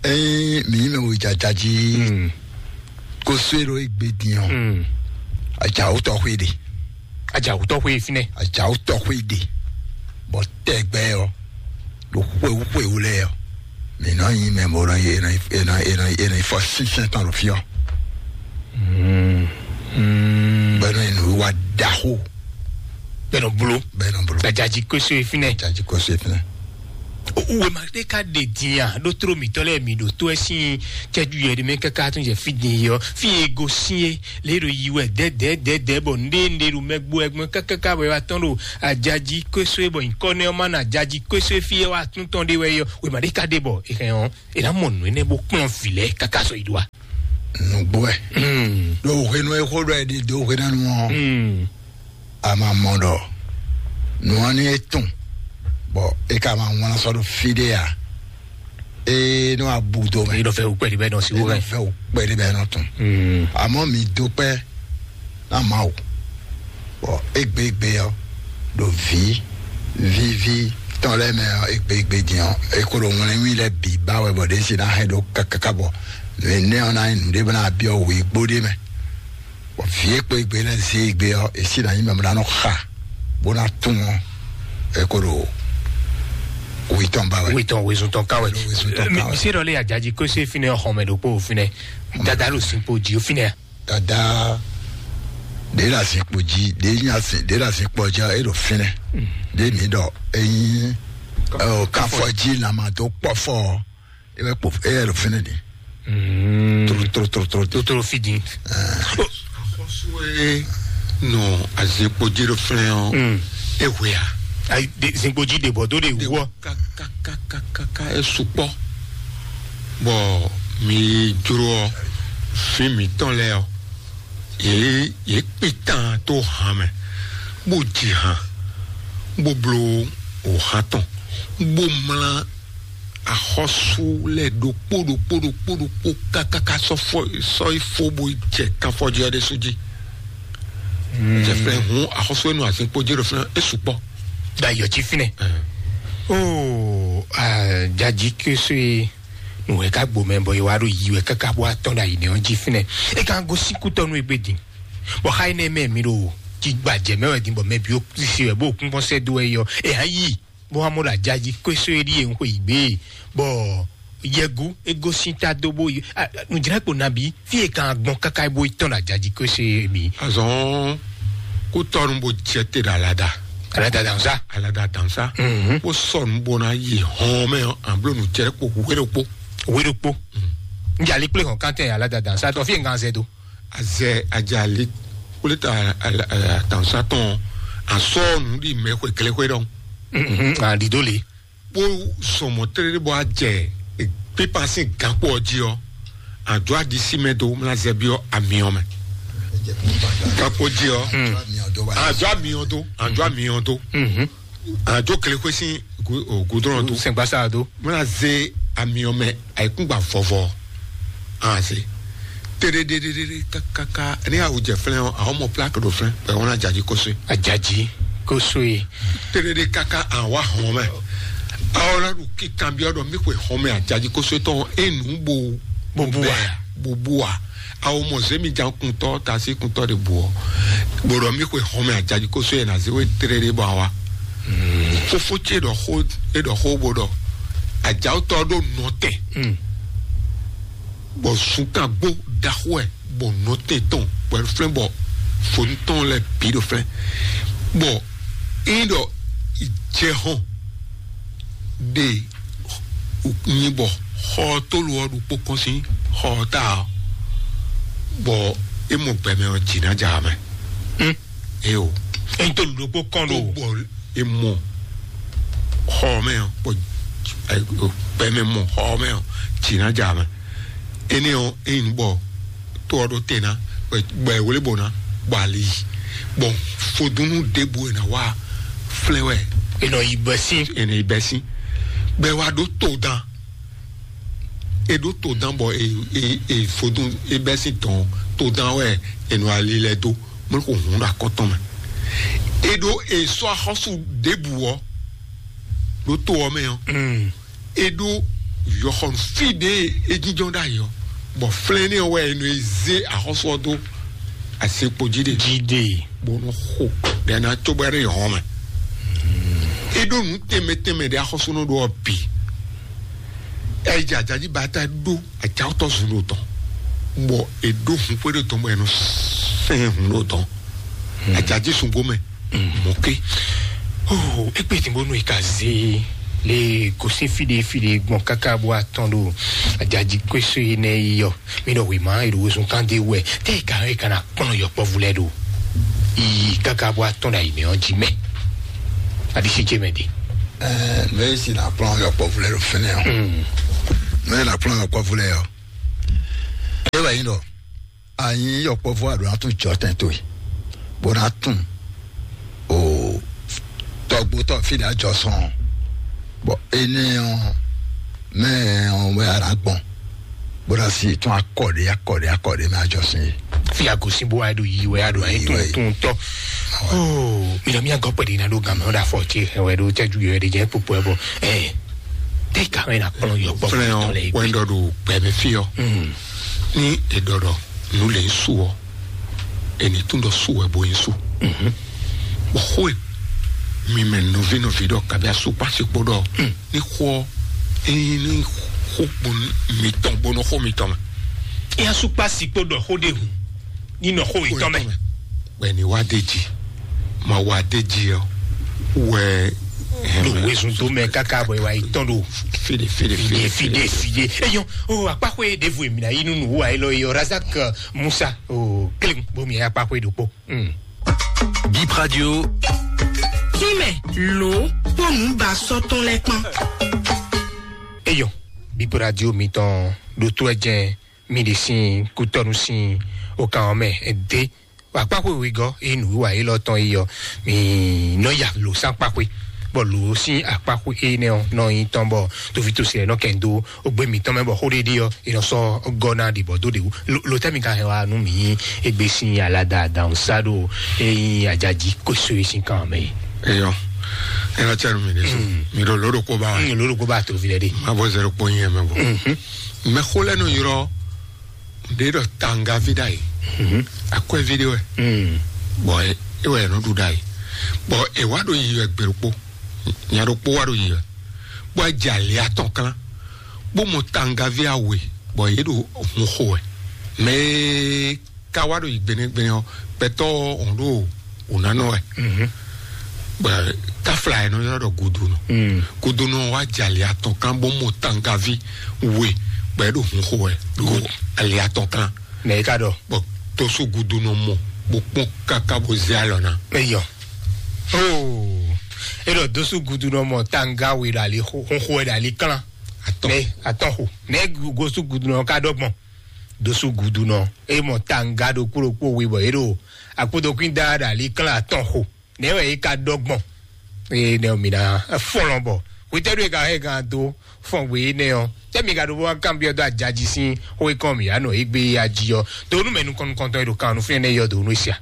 Ɛɛ mi yi mɛ wo jajaji. Ko so ɖo egbe din ɔ. Ajawutɔ xwe ɖe. Ajawutɔ xwe finɛ. Ajawutɔ xwe ɖe. Bɔ tɛgbɛ ɔ. Ɖo xwewú xwewú lɛ ɔ. Mi nɔ yin mɛ mo nɔ yi e nɔ yi fɔ sínsɛn tɔn ɖo fí ɔ. Bɛ nɔ yi nǔwiwa ɖaxo. Bɛ nɔ blo. Bɛ nɔ blo. Gbadzaji koso yi finɛ. Gbadzaji koso yi finɛ. Wěma ɖé ka ɖe din a? Ɖó tló mǐtɔn lɛ́ɛ mi ɖo tó ɛ sín cɛ́jú yɛ ɖé mɛ káká tún jɛ fí din yɔ. Fí e gosín é, lě ɖo yi wɛ dɛ̌dɛ̌dɛ̌dɛ̌ bɔ nɖé nɖé ɖo mɛ gbó ɛgbɔn kákáká wɛ wá tɔn ɖo ajají kwésó é bɔ nyǐkɔ nɛ ɔ́ má na ajají kwésó é fí é wá tún tɔn ɖé wɛ yɔ. Wěma ɖé ka ɖe bɔ è hɛn ɔ́, è nǎ mɔ nǔ énɛ́ bó kplɔ́n vǐ lɛ́ɛ káká sɔ yi ɖó a? Nǔgbó wɛ. Ɖo hwenu e xó ɖɔ ɛ ɖi dó hwenɛ́nu ɔ́, a ma mɔ ɖɔ nǔ ɔ́ ní é tún, bɔ é ka ma wlán sɔ́ ɖo fí ɖé a? É nɔ abu dó mɛ. Ní ɖɔ fɛ wú kpɛɖi bɛ nɔ si wú Nɔ hɛ. Fɛ wú kpɛɖi bɛ nɔ tún. Àmọ́ mi dó kpɛ ná Mawu, bɔ égbé égbé ɔ́ ɖo vǐ víví tɔn lɛ́ɛ mɛ ɔ́, égbé égbé din ɔ́, é kó ɖo wlɛ́nwí lɛ́ɛ bǐ ba wɛ bɔ ɖě si ná hɛn ɖó kákáká bɔ nǔ énɛ́ ɔ́ ná nyí nǔɖé bó ná byɔ́ wǐgbó ɖé mɛ. Bɔ vǐ e kpo égbé lɛ́ɛ zé égbé ɔ́, è sí ná nyí mɛ bó ná nɔ xa bó ná tunwun ɔ́, é kó ɖo wí tɔn ba wɛ. Wí tɔn wezun tɔn ká wɛ. Wezun tɔn ká wɛ. Mi se ɖɔ lé ajaji kó se fínɛ xɔmɛ ɖokpó fínɛ. Dada ɖo sinkpo jí fínɛ. Dada ɖě le azinkpo jí, ɖě nyi azin ɖě le azinkpo jí é ɖo fínɛ. Ɖě mi ɖɔ é nyí ɔ, káfɔ jí lama dó kpɔfɔ ɔ́, é wɛ kpo é wɛ ɖo fínɛ ɖi. Trotro trotro trotro. Totoro fi din. Xɔsue nɔ azinkpo jí ɖo fínɛ ɔ́, é hwe a? Ayi, zinkpo jí ɖe bɔ dó ɖe wú ɔ. Kakakakaka é sukpɔ. Bɔ mi jló ɔ, fí mǐtɔn lɛ́ɛ ɔ, yě yě kpitan tó han mɛ, bó ji han, bó bló òhan tɔn, bó mlá axɔ́sú lɛ́ɛ ɖokpó ɖokpó ɖokpó ɖokpó kákáká sɔ́ fɔ sɔ́ yi fó bó jɛ kanfɔjí ɔ́ ɖésú jí. Jɛ flɛ hun axɔ́sú enu azin kpó jɛ ɖo flɛ esu kpɔ. Da yɔ jí fínɛ. Oo, jaji késo ye nùwẹ̀ ká gbomɛ bɔ ye wá ɖo yi wɛ káká bó atɔn ɖo ayi nɛ ɔ́ jí fínɛ. E kan gosín kútɔnu egbe din. Bɔ xa yi nɛ mɛ mi ɖo jigbajɛ mɛ wɛ din bɔ mɛ bi o sisi wɛ bó kún bɔ sɛ do wɛ yɔ. E hã yi bó hã mɔ ɖo ajaji késo ye ɖi ye ŋxɔ yi gbé. Bɔ yɛgu ego sin ta do bó yi. Nùdzra kpo nabi fi e kan gbɔn kaka bó yi tɔn ɖo ajaji késo ye mi. Azɔn kó tɔnu bó jɛ te ɖo alada. Alada dansa. Alada dansa. Bó sɔnu bó na yi hɔn mɛ an blo nùdzra kpo wéɖokpo. Wéɖokpo. Njali kple hɔn kantɛ alada dansa tɔ fi e kan zɛ do. Azɛ ajali kple ta atansa tɔn asɔ nu ɖi mɛ xwe kele xwe ɖɔn. Aɖiɖo le. Kpó sɔmɔ tlɛɖe bɔ ajɛ pípa sín gakpo ɔ́ jí ɔ́, àjọ aɖisí mɛ dó mla zɛbi ɔ́ amiɔ mɛ. Gakpo jí ɔ́, àjọ amiɔ dó, àjọ amiɔ dó. Àjọ kele xwe sín gudrɔn dó. Sɛngbasa dó. Mla zé amiɔ mɛ ayikúngba vɔvɔ. Ase. Teɖeɖeɖeɖe kakaka ní awu jɛ flɛn ɔ, àwọn ọmọ plaki ɖo flɛn pẹ̀lú wọn àjàjì kóso. Àjàjì kóso yìí. Teɖeɖe kaka àwa hàn mɛ. Àwọn ọlọ́run kíkan bí ọdọ mi pé hàn mɛ àjàjì kóso tán enu bo. Bobu wa. Bobu wa. Àwọn ọmọ zemi jan kuntọ tasi kuntọ de bu ọ. Gbọdọ mi pé hàn mɛ àjàjì kóso yẹn na zéwé teɖeɖe bọ àwa. Fofo tse ɖɔ xó, e ɖɔ xó bo ɖɔ. Àjàwótọ́ ɖo nɔtɛ. Bɔ sunkan gbó ɖaxó ɛ bɔ nɔtɛn tɔn bɔ flɛn bɔ fonu tɔn lɛ bi ɖo flɛn. Bɔ eyin ɖɔ jɛhɔn ɖe nyi bɔ xɔ tolu ɔ ɖokpó kɔn sín xɔ ta ɔ, bɔ e mɔ gbɛmɛ ɔ dzi na dza mɛ. Eo. Eyin tolu ɖokpó kɔn ɖo. Bɔ e mɔ xɔ mɛ ɔ, bɔ gbɛmɛ mɔ xɔ mɛ ɔ dzi na dza mɛ. Ene ɔ eyin bɔ to ɔ ɖo te na bɔ ewle bɔ na bɔ ali yi bɔ fodunu ɖebu ena wa flɛ wɛ. Enɔ yi bɛ sin. Ene yi bɛ sin bɛ wa ɖo to dan. E ɖo to dan bɔ e e e fodun e bɛ sin tɔn to dan wɛ enɔ ali lɛ do mo ko hun ɖo akɔtɔn mɛ. E ɖo e sɔ axɔsu ɖebu ɔ ɖo to ɔ mɛ ɔ. E ɖo yɔxɔnu fí ɖe e jínjɔ́n ɖ'ayǐ ɔ́, bɔ flɛ́n n'i ɔ́ wɛ e nɔ e zé axɔ́sú ɔ́ dó asekpo jí ɖe. Jí ɖe. Bó nɔ xo ɖe ná cóbɔ ɖe hɔn mɛ. E ɖo nǔ tɛnmɛ tɛnmɛ ɖe axɔ́súnɔ ɖo ɔ́ bǐ. Ɛ yi jɛ ajají ba ta ɖó ajáwótɔ́ zun ɖo tɔn, bɔ e ɖó hun xwé ɖo tɔn bɔ e nɔ sɛn hun ɖo tɔn. Ajají sungbo mɛ mɔke. Oh, ekpe ti bonu ika ze Le gosín fíɖe fíɖe gbɔn káká bó atɔn ɖo ajají kwésó énɛ́ yi ɔ́, mí ɖɔ wěma e ɖo wezun kan ɖé wɛ, tɛ ka e kana kplɔn yɔkpɔvu lɛ ɖo yi káká bó atɔn ɖo ayi mɛ ɔ́ jí mɛ. Aɖisí jɛ mɛ ɖe. Ɛɛ, mɛ e si na kplɔn yɔkpɔvu lɛ ɖo fɛnɛ ɔ. Mɛ e na kplɔn yɔkpɔvu lɛ ɔ. E wɛ yin ɖɔ anyi yɔkpɔvu a ɖo na tún jɔ tɛn towe, bó na tún o tɔgbótɔ fí ɖe ajɔ sɔn, bɔ énɛ́ ɔ́ mɛ ɔ́ wɛ a nǎ gbɔn, bó ná sí tún akɔ ɖé akɔ ɖé akɔ ɖé mɛ ajɔ sín é. Fi agosin bó wá ɖo yi wɛ a ɖo anyi Yi tún wɛ. Tún tɔ. Oo, mi nɔ mi agɔ pɛɖi na ɖo gan mɛ ɔ́ ɖo afɔ ce hɛn wɛ ɖo cɛju yɔ ɖe jɛ kpokpo ɛ bɔ ɛ tɛ ka wɛ na kplɔn yɔ kpɔ Fúnɛ tɔ lɛ ɔ́, wɛn ɖɔ ɖo gbɛmɛ fí ɔ́. Ní è ɖɔ ɖɔ nǔ lě ń su ɔ́, è ní tún ɖɔ su wɛ bó nyí su. Bɔ xó e mi mɛ nɔví nɔví ɖɔ kabi asukpasi kpó ɖɔ ní xó ɔ́, ní xó mitɔn bó nɔ xó mitɔn mɛ. Yasukpasi kpó ɖɔ xó ɖe hùn ní nɔ xó yětɔn mɛ. Wɛ ni wá dé jí, ma wá dé jí ɔ wɛ. Ɖo wezun tó mɛ káká bɔ ìwà yìí tɔn ɖo fide fide fide fide fide. Eyɔn o akpaxwe ɖevo èmi na yí nunu wò ayé lɔ yɔ Razak Musa o kelen bomi akpaxwe ɖokpó. Bip Radio. Tímɛ ló kpónú ba sɔtɔn lɛ kpɔn. Eyɔn Bip Radio mitɔn ɖo tó ɛ jɛn mi ɖe sin kutɔnu sin o kan ɔmɛ de. Akpaxwe wegɔ eye nǔwiwa élɔ́ tɔn yi ɔ mi nɔ ya lǒ sín akpaxwe bɔ lǒ sín akpaxwe énɛ́ ɔ́ nɔ nyi tɔn bɔ tovítɔ́sí ɛ nɔ kɛn dó ogbe mǐtɔn mɛ bɔ xó ɖéɖé ɔ́ è nɔ sɔ́ gɔ́ ná ɖi bɔ dó ɖe wú. Lo tɛ́ mi ka hɛn wá nú mǐ égbé sín alada adawun sá ɖo ényí ajají kóso é sín kan mɛ é? Eyɔ, ɛ nɔ tɛ nu mi ɖe so. Mi ɖo lǒ ɖokpó ba wa. Lǒ ɖokpó ba tovi lɛ ɖe. Ma bɔ zɛ ɖokpó nyi ɛ mɛ bɔ. Mɛ xó lɛ nɔ yrɔ ɖe ɖɔ tangavi ɖa yi. Akwɛvi ɖe wɛ. Bɔ e wɛ nɔ ɖu ɖa yi. Bɔ e wa ɖo yi wɛ gbe ɖokpó. Nya ɖokpó wa ɖo yi wɛ. Bɔ e jɛ ali atɔn klán. Bó mɔ tangavi awe bɔ yě ɖo hun xo wɛ. Mɛ e ka wa ɖo yi gbenegbene ɔ, gbɛtɔ ɔn ɖo wò nanɔ wɛ. Bɔ tafla yɛ nɔ ylɔ ɖɔ gudunɔ. Gudunɔ wa jɛ ali atɔn kan bó mɔ tangavi we bɔ yě ɖo hun xo wɛ ɖo ali atɔn kan. Nɛ e ka ɖɔ? Bɔ tosu gudunɔ mɔ bó kpɔn kaka bó zé alɔ ná. Eyɔ. Oh. E ɖɔ dosu gudunɔ mɔ tanga we ɖo ali xo xo wɛ ɖo ali klán. Atɔn. Nɛ atɔn xo. Nɛ gosu gudunɔ ka ɖɔ gbɔn. Dosu gudunɔ e mɔ tanga ɖokpó ɖokpó we bɔ e ɖo akpodokwin da ɖo ali klán atɔn xo. Nɛ wɛ e ka ɖɔ gbɔn. Eye nɛ mi na fɔlɔn bɔ wetɛ ɖo e ka hɛ gan do fɔn gbe nɛ ɔ. Tɛ mi ka ɖo bɔ kan biɔ do ajaji sin xo e kɔn mi anɔ egbe ya ji ɔ. Do nu mɛ nukɔn nukɔntɔn e ɖo kan nu fɛn nɛ yɔ do nu sia.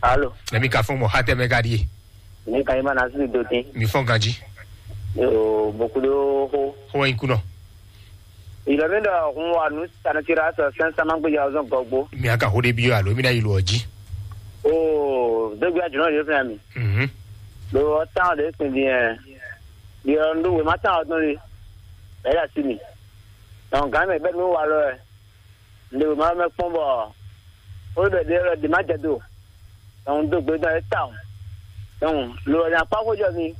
Alo. Nɛ mi ka fɔn mɔ ha tɛ mɛ ka ɖie. Mi ka yi ma na si do tin. Mi fɔn ganji. Yo bokudo xo. Xo wɛ nyi kunɔ. Ilɔmíɖɔ hun wa nǔ sanɔtira sɔ sɛn sama gbéjà ɔzɔn gɔgbo. Mi aka xo ɖe bi alo mi na yi lo ɔji. Oo dégbe ajunɔ yóò fɛn mi. Mhm. Lo ɔtán ɖe sin diɛ. Yɔ ndo wema tán ɔdún li. Ɛyɛ asi mi. Nɔ gán mɛ bɛ nu wa lɔ ɛ. Ndo wema mɛ kpɔn bɔ. Ó bɛ ɖe lɔ di ma jɛ do. Dɔnku do gbe dɔn e ta o. Dɔnku lo nya kpa xó jɔ mi.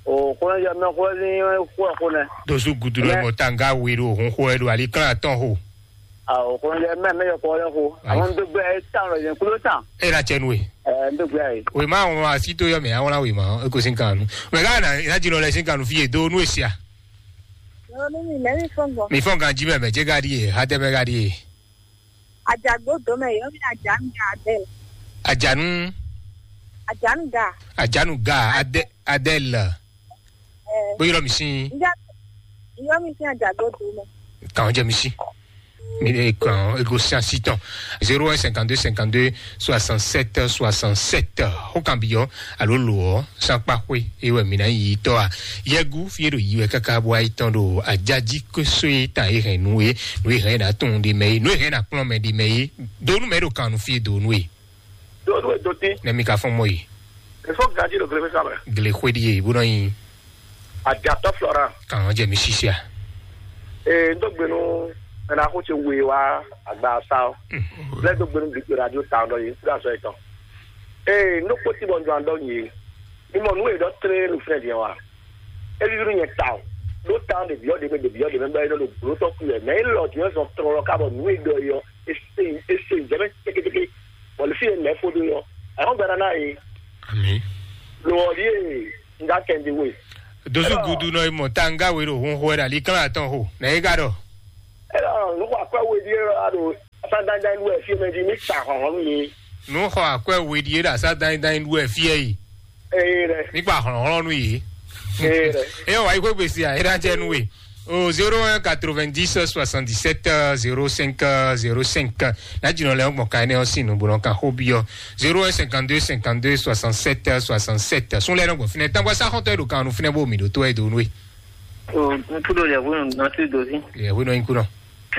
O xó jɔ mɛ xó ní xó ɛ xó nɛ. Dosu gudu lɔ mɔ tanga we ɖo hun xó ɛ ɖo ali kan atɔn xo. Awo xó jɔ mɛ mɛ yɔ kɔ lɛ xó. Àwọn do gbɛ e ta lɔ yẹn kulo ta. E na cɛ nu e. Ɛ n do gbɛ ye. O ma wɔn asi to yɔ mɛ awon la we ma e ko sin kan nu. Mɛ ka na ina dzi lɔ lɛ sin kan nu fi ye do nu esia. Nyɔnu mi mɛ mi fɔn gbɔ. Mi fɔn kan ji mɛ mɛ je ka di ye ha tɛ mɛ ka di ye. Ajagbo dome yɔ mi ajanu ga Adele. Ajanu. Ajanu ga. Ajanu ga Ade Adele. Eh. Bó yọrọ mi sí. Njẹ yọ mi sí ajagbo dome. Kàn jẹ mi sí. Mi ẹ kàn ego sí asítàn. Zéro un cinquante deux cinquante deux soixante sept soixante sept. Ó kàn bí yọ alo lò ọ sápá xwé ewé mi náà yìí tọ́ a. Yẹgu fi èrò yìí wẹ káká bó ayé tán ɖo ajájí kó sóyè tàn é hɛn nú é. Nú é hɛn ná tún ɖe mɛ é nú é hɛn ná kplɔ́n mɛ ɖe mɛ é. Donu mɛ ɖo kàn nú fi donu é. Donu é doti. Nɛ mi ka fɔn mɔ yi. Efo gaji ɖo gele fɛn samɛ. Gele xwé ɖi é bó nɔ nyi. Adiatɔ Florent. Kàn jɛ mi sisia. Ee n dó gbenu ɛna xó tse wue wá agba sa ɔ. Lɛ dó gbenu bi radio ta ɔ dɔ yi kúrò azɔ etɔn. Ee n dó kpótí bɔ n dó an dɔ nyi. Ní mɔ nú e dɔ tlé nu fɛn diɛ wa. É víví nú nyɛ tawun. Ɖó tawun ɖe byɔ̌ ɖe mɛ ɖe byɔ̌ ɖe mɛ bɔ é nɔ ɖo blǒ tɔn kú wɛ. Mɛ élɔ́ din ɔ́ zɔn tlɔlɔ ká bɔ nǔ e ɖɔ é ɔ́, é se é se jɛ mɛ cékécéké. Bɔ ɖě fí e mɛ̌ fó ɖó é ɔ́, ayɔ́ gbɛɖá ná e. Ami. Lo ɔ́ ɖíe un gá kɛn ɖi we. Dozu gudu nɔ yi mɔ tanga we ɖo hun xo wɛ ɖo ali klán atɔn xo. Nɛ é gá ɖɔ. Ɛlɔ, nǔ xɔ akwɛ́ we ɖíe ɖɔ a ɖo asá dánidányi wɛ fí e mɛ jí ní sa hlɔ̌nhlɔ́n nú yě. Nǔ xɔ akwɛ́ we ɖíe ɖo asá dánidányi wɛ fí e yi. Ee ɖɛ. Ní kpa hlɔ̌nhlɔ́n nú yě. Ee ɖɛ. Eye wǎ yi xwé gbèsè à é ná jẹ́ nú we. O zéro un quatre-vingt-dix soixante-dix-sept zéro cinq zéro cinq. Ná jìnnà lɛ gbɔn ka énɛ́ ɔ́ sín nǔ bó nɔ kan xó byɔ́. Zéro un cinquante-deux cinquante-deux soixante-sept soixante-sept. Sún lɛ nɔ gbɔn fínɛ tágbá sá xɔntɔn e ɖo kan nu fínɛ bó mi ɖo tó ɛ do nú we. O ŋkuɖo yɛhwenu nɔtí dozi. Yɛhwenu nyi kunɔ.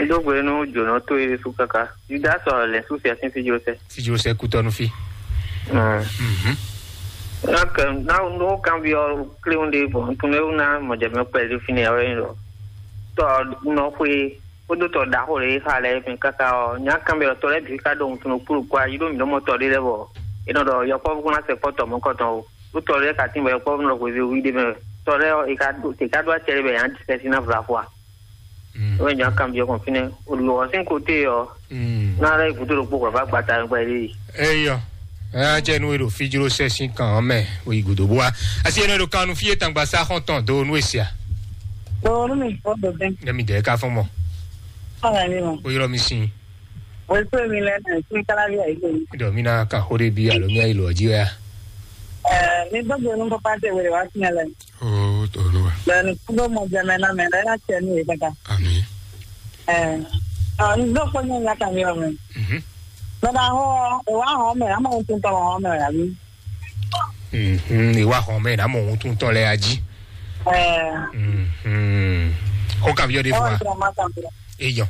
Dógbe nú jǒnɔ tó e su kaka. Yuda sɔ lɛ su fia sín fíjó sɛ. Fíjó sɛ kutɔnu fi. Mhm. Nak na no kan bi ɔ kléwún ɖe bɔ ntun ewu na mɔjɛmɛ kpɛli fi ne ɔyɛ lɔ. Tɔ nɔ xwe kódó tɔ ɖaxó ɖe xa lɛ mi kaka ɔ nya kan bɛ tɔ lɛ bi ka ɖo ntun kplu kɔ ayi ɖo mi ɖo mɔ tɔ ɖe lɛ bɔ. E nɔ ɖɔ yɔkpɔvu kún na sɛ kpɔ tɔ mɔ kɔtɔn o. Ɖó tɔ lɛ ka tín bɔ yɔkpɔvu nɔ xwe wi ɖe mɛ. Tɔ lɛ ɔ e ka ɖo e ka ɖo acɛ ɖe bɛ yan disɛ si na vla xwa. Mm. Wọ́n jọ kan bí ọkàn fínẹ́ olùwọ́sìn kò tè ọ́. Mm. Náírà ìkútó ló pọ̀ bá gbàtà nípa ilé yìí. Eyɔ. Ɛ jɛ nu ero fijiro sɛ sin kan ɔmɛ oyi godo boa. Asi ene do kanu fie tangba sa xɔntɔn do nu esia. Dɔwɔnu mi fɔ dɔbɛn. Ne mi dɛ ka fɔn mɔ. Fɔlɔ mi mɔ. O yɔrɔ mi sin. O tó mi lɛ na sin kala bi ayi lóyún. Dɔ mi na ka xo de bi alo mi ayi lɔ ji ya. Ɛ mi gbɔdɔ nu papa tɛ wele wa fi lɛ. Oo, Olúwa. Bẹ́ẹ̀ni, kúndó mọ jẹmẹ náà mẹ lẹ́yìn àti ẹni yìí kankan. Àmín. Ẹ ẹ ǹdó kpé ní ìyá kàmí ọmọ. Mhm. Bẹ́ẹ̀ni, àwọn ìwà àwọn ọmọ ẹ̀ àmọ́ ohun tó ń tọrọ àwọn ọmọ ẹ̀ àbí. Mhm, ìwà àwọn ọmọ ẹ̀ àmọ́ ohun tó ń tọrọ ẹ̀ ají. Ẹ Mhm. Ó kàbí ọdẹ ẹ fún wọ́n wa. Ti ọmọ kàmí. Èèyàn.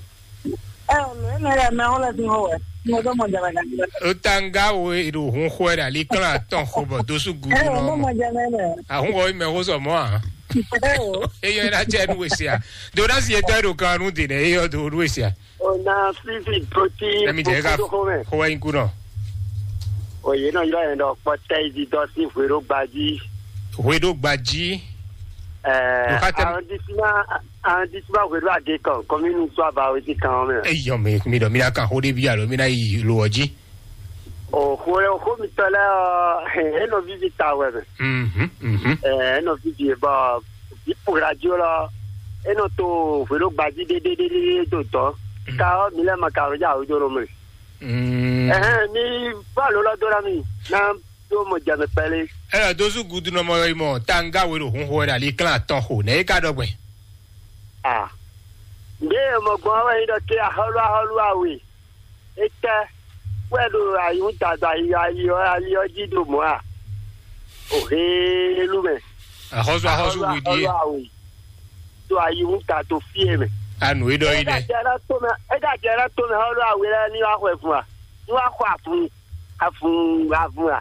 Ẹ ò lè ní ẹ mẹ wọn lẹ fi hàn wẹ. Mo tó mọ jẹmẹ kan. Ó tá ń gá wo èrò òhun xó ẹ̀ dà lí kán àtọ̀ xó bọ̀ dóṣù Ẹ gúdú ò náà mọ mọ̀. Jẹmẹ nẹ. Ahun wɔ ime ho sɔ mɔ a. Ẹ ò. Eyɔ ena tsɛ nu wesi a. Do na si etɔ eɖo kan nu de nɛ eyɔ do nu wesi a. Ona fifi doti. Emi jɛ ka. Xɔ wɛ yin kunɔ. Oye náà yọ yẹn dɔ kpɔtẹ ibi dɔ sí hwero gbaji. Hweɖo gbaji. Ɛ Nka tɛ. Arrondissement arrondissement hwero age kan kɔminu tó abawe sí kan mɛ. Eyɔ mi mi dɔ mi na kan xó ɖe bi alo mi na yi lo ɔdzi. O xo xo mi tɔ lɛ ɔ e nɔ vivi ta wɛ mɛ. Mhm mhm. Ɛ e nɔ vivi bɔ ipo radio lɔ e nɔ to hwelo gbaji ɖeɖeɖeɖe to dɔn ka ɔ mi lɛ ma ka ɔ ja o joro mɛ. Mm. Ɛhɛn mi bɔ alo lɔ do na mi na do mo jɛ mi pɛle. Ela dozu gudu nɔ mɔ yi mɔ tanga we ɖo hun xo wɛ ɖo ali klán atɔn xo nɛ e ka ɖɔ gbɛn. Ah. Nde mɔ gbɔn wɛ yi ɖɔ ke ahɔlu ahɔlu awe. Etɛ wɛ ɖo ayihún dada yi ayi ɔ́ ali ɔ́ jí ɖo mɔ̌ a? O heelu mɛ. Axɔ́sú axɔ́sú wíɖíe. Awe ɖo ayihún da to fíe mɛ. Anu e ɖɔ yi nɛ. Ega jɛ ɖe to mɛ ega jɛ ɖe to mɛ ɔ́ ɖo awe lɛ́ɛ ní wá xɔ ẹ̀fún a? Ní wá xɔ àfún àfún àfún a?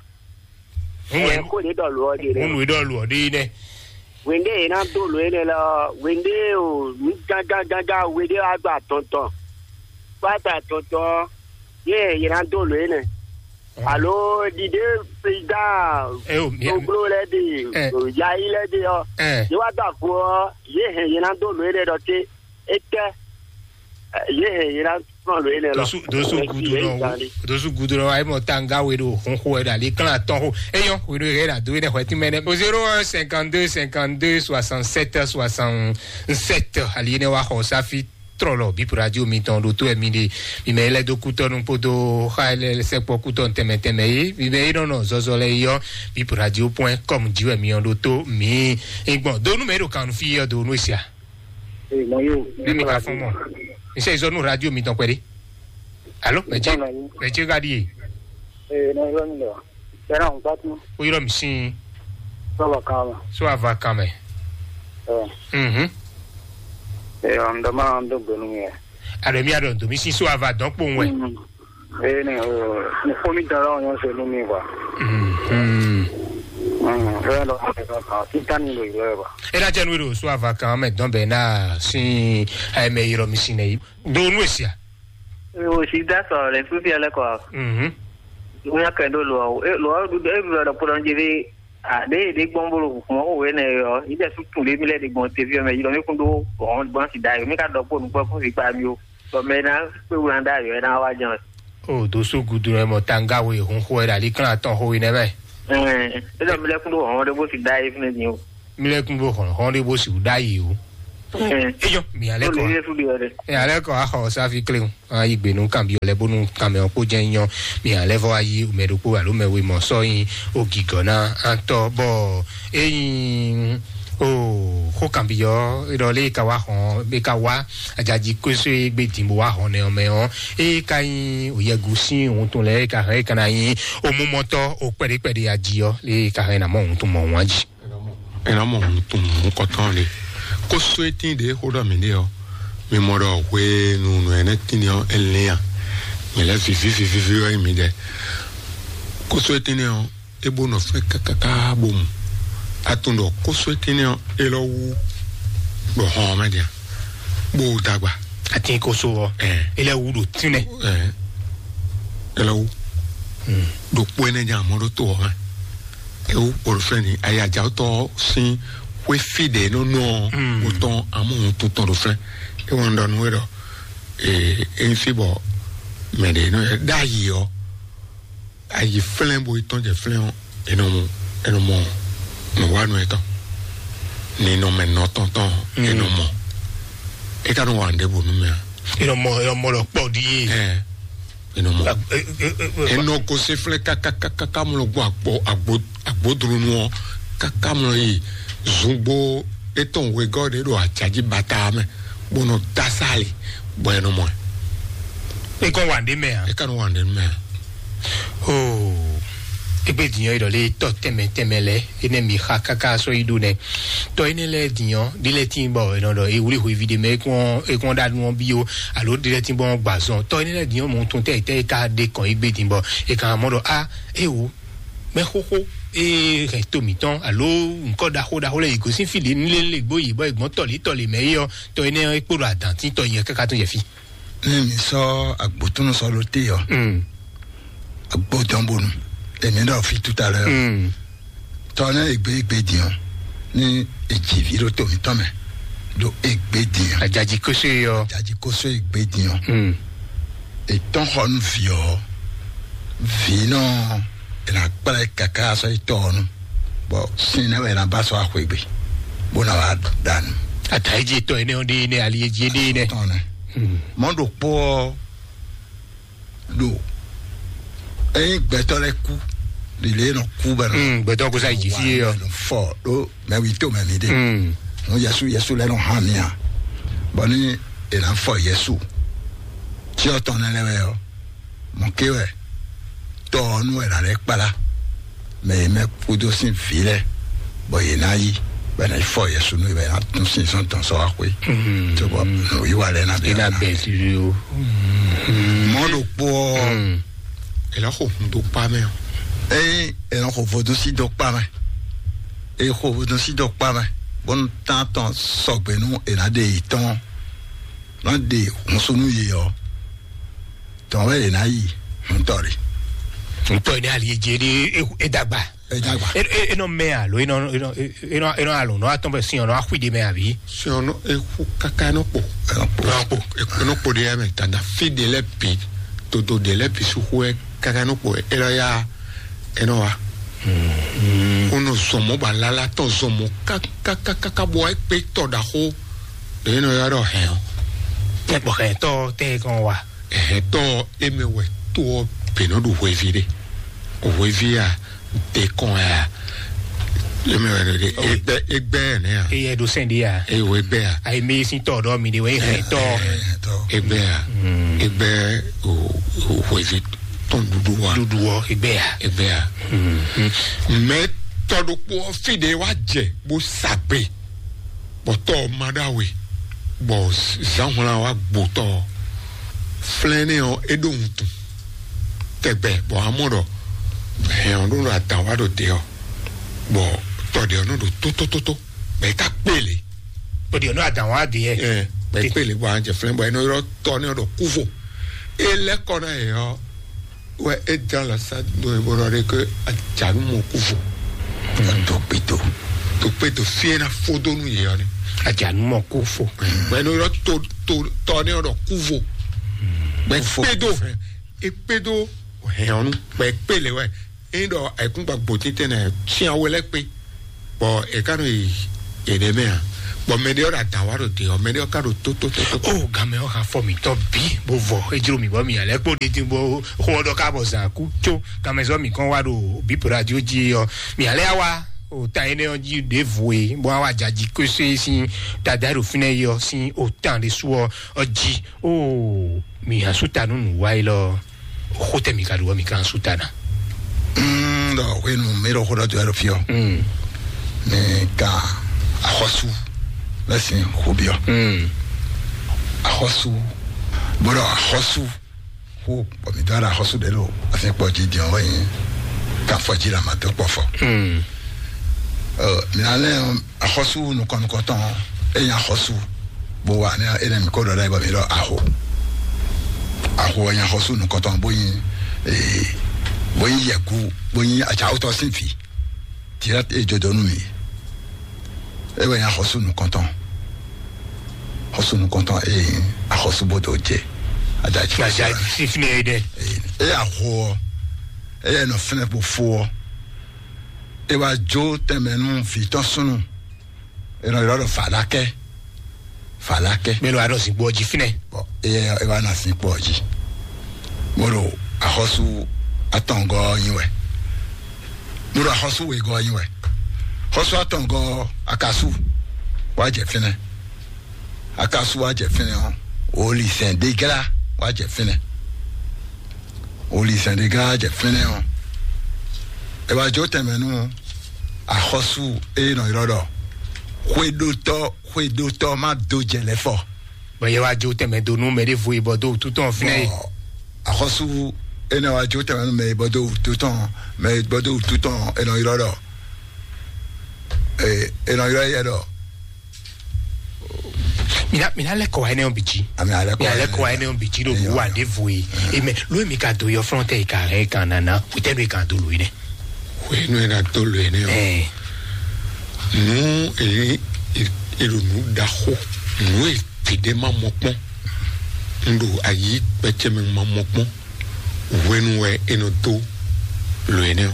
Ŋun Ɛ wɛ kó ní ɖɔ lǔ ɔ́ ɖe ŋun lɛ. Nù e ɖɔ lǔ ɔ́ ɖe yi nɛ. Wěnde yě ná dó lǒ énɛ́ lɔ wěnde o nǔ gángán gángán wěde wá gba tɔntɔn. Kpáta tɔntɔn yě yě ná dó lǒ énɛ́. Alo ɖiɖe président Ɛ o mi gbogbo lɛ de Ɛ. Yayi lɛ de ɔ Ɛ. Yě wá dó àgbo ɔ yě hɛn yě ná dó lǒ énɛ́ ɖɔ té étɛ́ yě hɛn yě ná kplɔ́n lǒ énɛ́ lɔ. Dosu dosu gudu nɔ dosu gudu nɔ ayi mɔ tanga we ɖo hun xo wɛ ɖo ali klán atɔn xo eyɔ we ɖo yɛ ɖo ado yi ɖe xɔ ti mɛ nɛ. O zéro un cinquante-deux cinquante-deux soixante-sept soixante-sept ali yi ne wa xɔ safi trɔlɔ bip radio mitɔn ɖo to ɛmi ɖe mi mɛ lɛ do kutɔnu kpodo xa lɛ sɛkpɔ kutɔnu tɛmɛ tɛmɛ ye mi mɛ yi nɔnɔ zɔzɔ lɛ yɔ bip radio point com ji wɛ mi yɔ ɖo to mi gbɔn donu mɛ ɖo kanu fi yɔ donu esia. Ee, mɔ yóò. Ne mi ka fɔn mɔ. Mi se zɔ nu radio mi tɔn kpɛ de. Alo, mɛ ce, mɛ ce ka di ye. Ee, ne yɔ mi lɔ. Bɛna n gbatu. O yɔrɔ mi sin. Sɔba kan mɛ. So ava kan mɛ. Ɛɛ. Mhm. Ee, an dɔ ma an dɔ gbɛnu mi yɛ. Alo mi adɔ ndo mi sin so ava dɔn kpowun wɛ. Mm. Ee, ne o, ne fo mi dara o nyɔ se nu mi kwa. Mhm. Mm, ee, dɔ ma se ka kan. Ti tan ni lo yɔ ba. E na jɛ nu do so ava kan mɛ dɔn bɛ na sin ayɛ mɛ yɔrɔ mi sin ne. Do nu esia. O si da sɔ le sufi ale kɔ. Mhm. Ŋu ya kɛ do lo o. E lo o du e bi lo do kpɔdɔn ji bi. Ɖé ɖé gbɔn bó ɖo hǔn xó wě nɛ ɔ́, yi ɖɛ sú tún ɖé mi lɛ ɖe gbɔn teví ɔ́ mɛ yi ɖɔ mi kún ɖó hɔn gbɔn si da yi mi ka ɖɔ kpó nukpɔ kún si kpa mi o. Bɔ mɛ ná kpé wlan da yɔ ná wá jɛn. O do so gudu ɛ mɔ tanga we hun xo ɛ ɖali kan atɔn xo we nɛ mɛ. Ɛn, e ɖɔ mi lɛ kún ɖó hɔn ɖé bó si da yi fúnɛ din o. Mi lɛ kún ɖó hɔn hɔn ɖé bó si da yi o. Ɛn, Eyɔ mi alɛ kɔ. Lórí ilé fúdi ɔdɛ. Ɛ alɛ kɔ axɔ safi kle o. Ayi gbe nú kanbyɔ lɛ bónú kanmɛ ɔ́ kpó jẹ́ nyɔ. Mi alɛ vɔ ayi mɛ ɖokpó alo mɛ we mɔ sɔ yin o gigɔ na antɔ bɔ eyin o xó kanbyɔ ɖɔ lé ka wá xɔn be ka wá ajaji kóso e gbé din bó wá xɔn nɛ ɔmɛ ɔ́ e ka yin o yɛgu sín òun tún lɛ e ka hɛn e ka na yin o mú mɔtɔ o kpɛɖé kpɛɖé aji ɔ́ lé ka hɛn na mɔ òun tún mɔ òun aji. Ena mɔ hun tun hun kɔtɔn le. Kóso etin ɖe xó ɖɔ mi ɖe ɔ, mi mɔ ɖɔ hwenu nɔ ɛnɛ tin ɔ, e lɛn a mi lɛ vivi vivi vivi ɔ mi ɖɛ. Kóso etin ɔ, e bo nɔ fɛ kakaka bo mu. Atun ɖɔ kóso etin ɔ, e lɔ wu ɖɔ hɔn mɛ dia, bo dagba. Atin koso ɔ, Ɛn. Ele wu ɖo tinɛ. Ɛn. E lɔ wu. Ɖo kpó ɛnɛ dza mɔ ɖo to ɔ mɛ. Ewu kpɔɖo fɛn ni ayajawutɔ sin xwé fi ɖe nɔ nɔ Mm. wotɔn amu ŋutu tɔn ɖo fɛn. Ewɔ ŋdɔ nu ɖɔ ee eyin fi bɔ mɛ ɖe nɔ ɖe ayi ɔ, ayi flɛn bo tɔn jɛ flɛn ɔ, enɔ mu enɔ mɔ nɔ wa nu etɔn ni nɔ mɛ nɔ tɔn tɔn Mm. enɔ mɔ. E ka nɔ wa ŋɖe bo nu mɛ a? Enɔ mɔ enɔ mɔ lɔ kpɔ ɖi ye. Ɛ enɔ mɔ. Enɔ ko se flɛ kakakaka mlɔ gbɔ agbo agbo agbodronu ɔ kaka mlɔ yi zungbo etɔn wegɔ ɖe ɖo ajaji bata mɛ bó nɔ dasali bɔ enɔ mɔ. E kɔn wa ɖe mɛ a? E ka nɔ wa ɖe mɛ a? Oh, egbe diyan yi ɖɔ le tɔ tɛmɛ tɛmɛ lɛ ene mi xa kaka sɔ yi ɖo nɛ. Tɔ ene lɛ diyan ɖi lɛ tin bɔ enɔ ɖɔ ewuli hwevi ɖe mɛ ekɔn ekɔn ɖa nu ɔ bi o alo ɖi lɛ tin bɔ gbazɔn tɔ ene lɛ diyan mɔ tun tɛ tɛ ka ɖe kɔn egbe din bɔ e kan mɔ ɖɔ a ewo mɛ xoxo ee hɛn to mǐtɔn alo nukɔ ɖaxo ɖaxo lɛ yi gosín fi ɖe nílé lè gbó yi bɔ egbɔn tɔlí tɔlí mɛ yi ɔ tɔ ene ɔ ekpo ɖo adantí tɔ yi kaka tún yɛ fi. Ní mi sɔ agbótúnú sɔ ló té ɔ, Mm. Agbó dɔn bonu èmi ɖɔ fi tout à l'heure. Mm. Tɔ ne egbe egbe diyan ní èjì vi ɖo tòmítɔn mɛ ɖo egbe diyan. Ajaji kóso yi ɔ. Ajaji kóso egbe diyan. Mm. Ètɔn xɔ nu vi ɔ, vi nɔ ènà kplɛ kaka sɔ yi tɔ ɔ nu. Bɔ sin ne wɛ ènà ba sɔ axwegbe bó na wà dànù. Ata yi dzi tɔ ene ɔ ɖe ene ali yi dzi ɖe ene. Tɔn ne. Mm. Mɔ ɖo kpɔ ɔ ɖo eyin gbɛtɔ lɛ kú lile nɔ kú bɛ nɔ. Mm, gbɛtɔ ko sa yi dzi fi ye ɔ. Fɔ ɖo mɛ wi to mɛ mi ɖe. Mm. Nu Yesu Yesu lɛ nɔ hã mi a. Bɔ ni ènà fɔ Yesu tí ɔ tɔn nɛ lɛ wɛ ɔ mɔ ké wɛ tɔ ɔ nu wɛ nà lɛ kpala mɛ yi mɛ kúdó sín vǐ lɛ bɔ yě ná yí bɛ ná yi fɔ Yesu nú bɛ ná tún sín sɔn tɔn sɔ wá xwé. Mm. Tó bɔ nù yí wa lɛ ná bɛ Ina ná bɛ si o. Mɔ ɖo kpó ɔ. Mm. Èlà xo hun dó kpá mɛ o. Eyin èlà xo vodún sí dó kpá mɛ. Èyí xo vodún sí dó kpá mɛ. Bɔnu tán tɔn sɔgbe nú ènà ɖe yìí tɔn ná ɖe hun sunu yìí ɔ. Tɔn wɛ ènà yìí hun tɔ rè. Ntɔ yi ní ali edze ɖe edagba. Edagba. Enɔ mɛ alo enɔ enɔ enɔ enɔ alo nɔ atɔn bɛ sin ɔnɔ axui de mɛ abi. Sɔnɔ eku kaka nɔ kpo. Nɔ kpo. Nɔ kpo de ya mɛ tanda fi de lɛ bi todo de lɛ bi suku ɛ kaka nɔ kpo e lɔ ya e nɔ wa. Wonɔ zɔmɔ ba lala tɔn zɔmɔ kakakakaka bɔ ekpe tɔ ɖaxo ɖe e nɔ ya ɖɔ hɛn o. Tɛ kpɔ hɛn tɔ tɛ kɔn wa. Hɛn tɔ e mɛ wɛ to ɔ bɛ nɔ ɖo hwevi ɖe. Hwevi a de kɔn ya. E mɛ wɛ ɖe egbe egbe nɛ ya. Eye ɖo sɛn ɖe ya. Eye wo egbe ya. Ayi mi sin tɔ ɖɔ mi de wɛ hɛn tɔ. Egbe ya. Egbe o o hwevi tɔn ɖuɖu wa. Ɖuɖu wɔ egbe ya. Egbe ya. Mɛ tɔ ɖokpo ɔ fi ɖe wa jɛ bo sa gbe. Bɔ tɔ ɔ ma ɖo awe. Bɔ zan hwlan wa gbo tɔ ɔ. Flɛn nɛ ɔ e ɖo wuntun. Tɛgbɛ bɔ amɔ ɖɔ hɛn ɔ ɖo ɖo adan wa ɖo te ɔ. Bɔ tɔ ɖe ɔ nɔ ɖo tótótótó. Bɛ e ka kpele. Bɔ ɖe ɔ nɔ adan wa ɖe yɛ. Ɛ bɛ e kpele bɔ an jɛ flɛn bɔ e nɔ ylɔ tɔ nɛ ɔ ɖɔ kuvo. E lɛ kɔ na yɛ ɔ. Wɛ e dán lɔ sá do e bó ɖɔ ɖe ke ajanu mɔ kuvo. Ɔ, dokpedo. Dokpedo fie na fo dó nú yě ɔ́ ni. Adzanu mɔ kó fo. Mɛ nɔ yɔ to to tɔ ne ɔ́ ɖɔ kúvo. Mɛ kpedo. Ekpedo hɛn ɔ́ nu. Mɛ kpe lɛ wɛ. Eyin ɖɔ ayikúngba gbòtítɛ nɛ tian we lɛ kpe. Bɔ e ka nɔ yi eɖe mɛ a? Bɔ mɛ ɖe ɔ́ ɖo adǎn wa ɖo de ɔ́, mɛ ɖe ɔ́ ka ɖo tótótótó. O gamɛ ɔ́ ha fɔ mǐtɔn bí bó vɔ, é jló mì bɔ mǐ alɛ kpó ɖe dín bó xó ɔ́ ɖɔ ká bɔ zǎn kú có gamɛ zɔ mǐ kɔn wá ɖo bípo radio jí ɔ́, mǐ alɛ wá o tan énɛ́ ɔ́ jí ɖěvo e bó wá wá jaji kwésé sín dada ɖo fínɛ́ yi ɔ́ sín o tan ɖé sú ɔ́ ɔ́ jí. O mǐ asú ta nú nǔ wá yi lɔ. Xó tɛ mi ka ɖu ɔ́, mi ka sú ta ná. Mm, ɖɔ hwenu mi ɖo xó ɖɔ dó ɛɖo fiɔ. Mm. Mi ka axɔsu lɛ sin xó biɔ. Mm. Axɔsu, bó ɖɔ axɔsu xó, bɔ mi dɔn axɔsu ɖe ɖo asi kpɔ jí diɔ wɛ nyi. Ka fɔ jí la ma dó kpɔ fɔ. Mm. Ɔ, mi na lɛ axɔsu nukɔn nukɔntɔn, e nya axɔsu bó wa ne e ne mi ko ɖɔ ɖe bɔ mi ɖɔ aho. Aho nya axɔsu nukɔntɔn bó yin ee bó yin yɛku bó yin atsawutɔ sin fi. Tira e jodo nu mi. E wɛ nya axɔsu nukɔntɔn. Axɔsu nukɔntɔn e yin axɔsu bó do je. Ada tsi. Ada tsi fifine yi dɛ. E aho ɔ, e yɛ nɔ fɛnɛ bó fo ɔ. E wá jó tɛnmɛ nú vǐ tɔn súnnu. E nɔ ylɔ́ ɖɔ Falakɛ. Falakɛ. Mɛ lo anɔ zinkpo ɔ́ jí fínɛ́. Bɔn e e wá na zinkpo ɔ́ jí. Mo ɖo axɔ́sú atɔngɔ́ ɔ́ nyi wɛ. Mo ɖo axɔ́sú wegɔ́ ɔ́ nyi wɛ. Xɔ́sú atɔngɔ́ ɔ́, akasu wá jɛ fínɛ́. Akasu wá jɛ fínɛ́ ɔ́, olizɛn ɖéglá wá jɛ fínɛ́. Olizɛn ɖéglá wá jɛ fínɛ́ ɔ́, e wá jó tɛnmɛ nú axɔ́sú e nɔ ylɔ́ ɖɔ xwedótɔ́ xwedótɔ́ má dó jɛ lɛ́ fɔ. Bɔn yɛ wá jó tɛnmɛ dó nú mɛ ɖěvo e bɔ dó wútu tɔn fínɛ́ e. Bɔn axɔ́sú énɛ́ wá jó tɛnmɛ nú mɛ e bɔ dó wútu tɔn, mɛ e bɔ dó wútu tɔn e nɔ ylɔ́ ɖɔ e e nɔ ylɔ́ yɛ ɖɔ. Mina mina lɛ kɔ wa ɛnɛ ɔn bitsi. Ami alɛ kɔ mina lɛ kɔ wa ɛnɛ ɔn bitsi ɖo bu wa ɖe vo ye. Eme lóye mi ka do yɔ fɔlɔ tɛ yi ka hɛn kan nana o tɛ do yi kan do lo yi nɛ. Wenu ena to lo ene o. Ɛɛ. Nu e e ɖo nu ɖaxo nu e tete ma mɔ kpɔn. N ɖo ayi kpɛtsɛ mɛ ma mɔ kpɔn. Hwenu wɛ e nɔ dó lo énɛ́ ɔ́.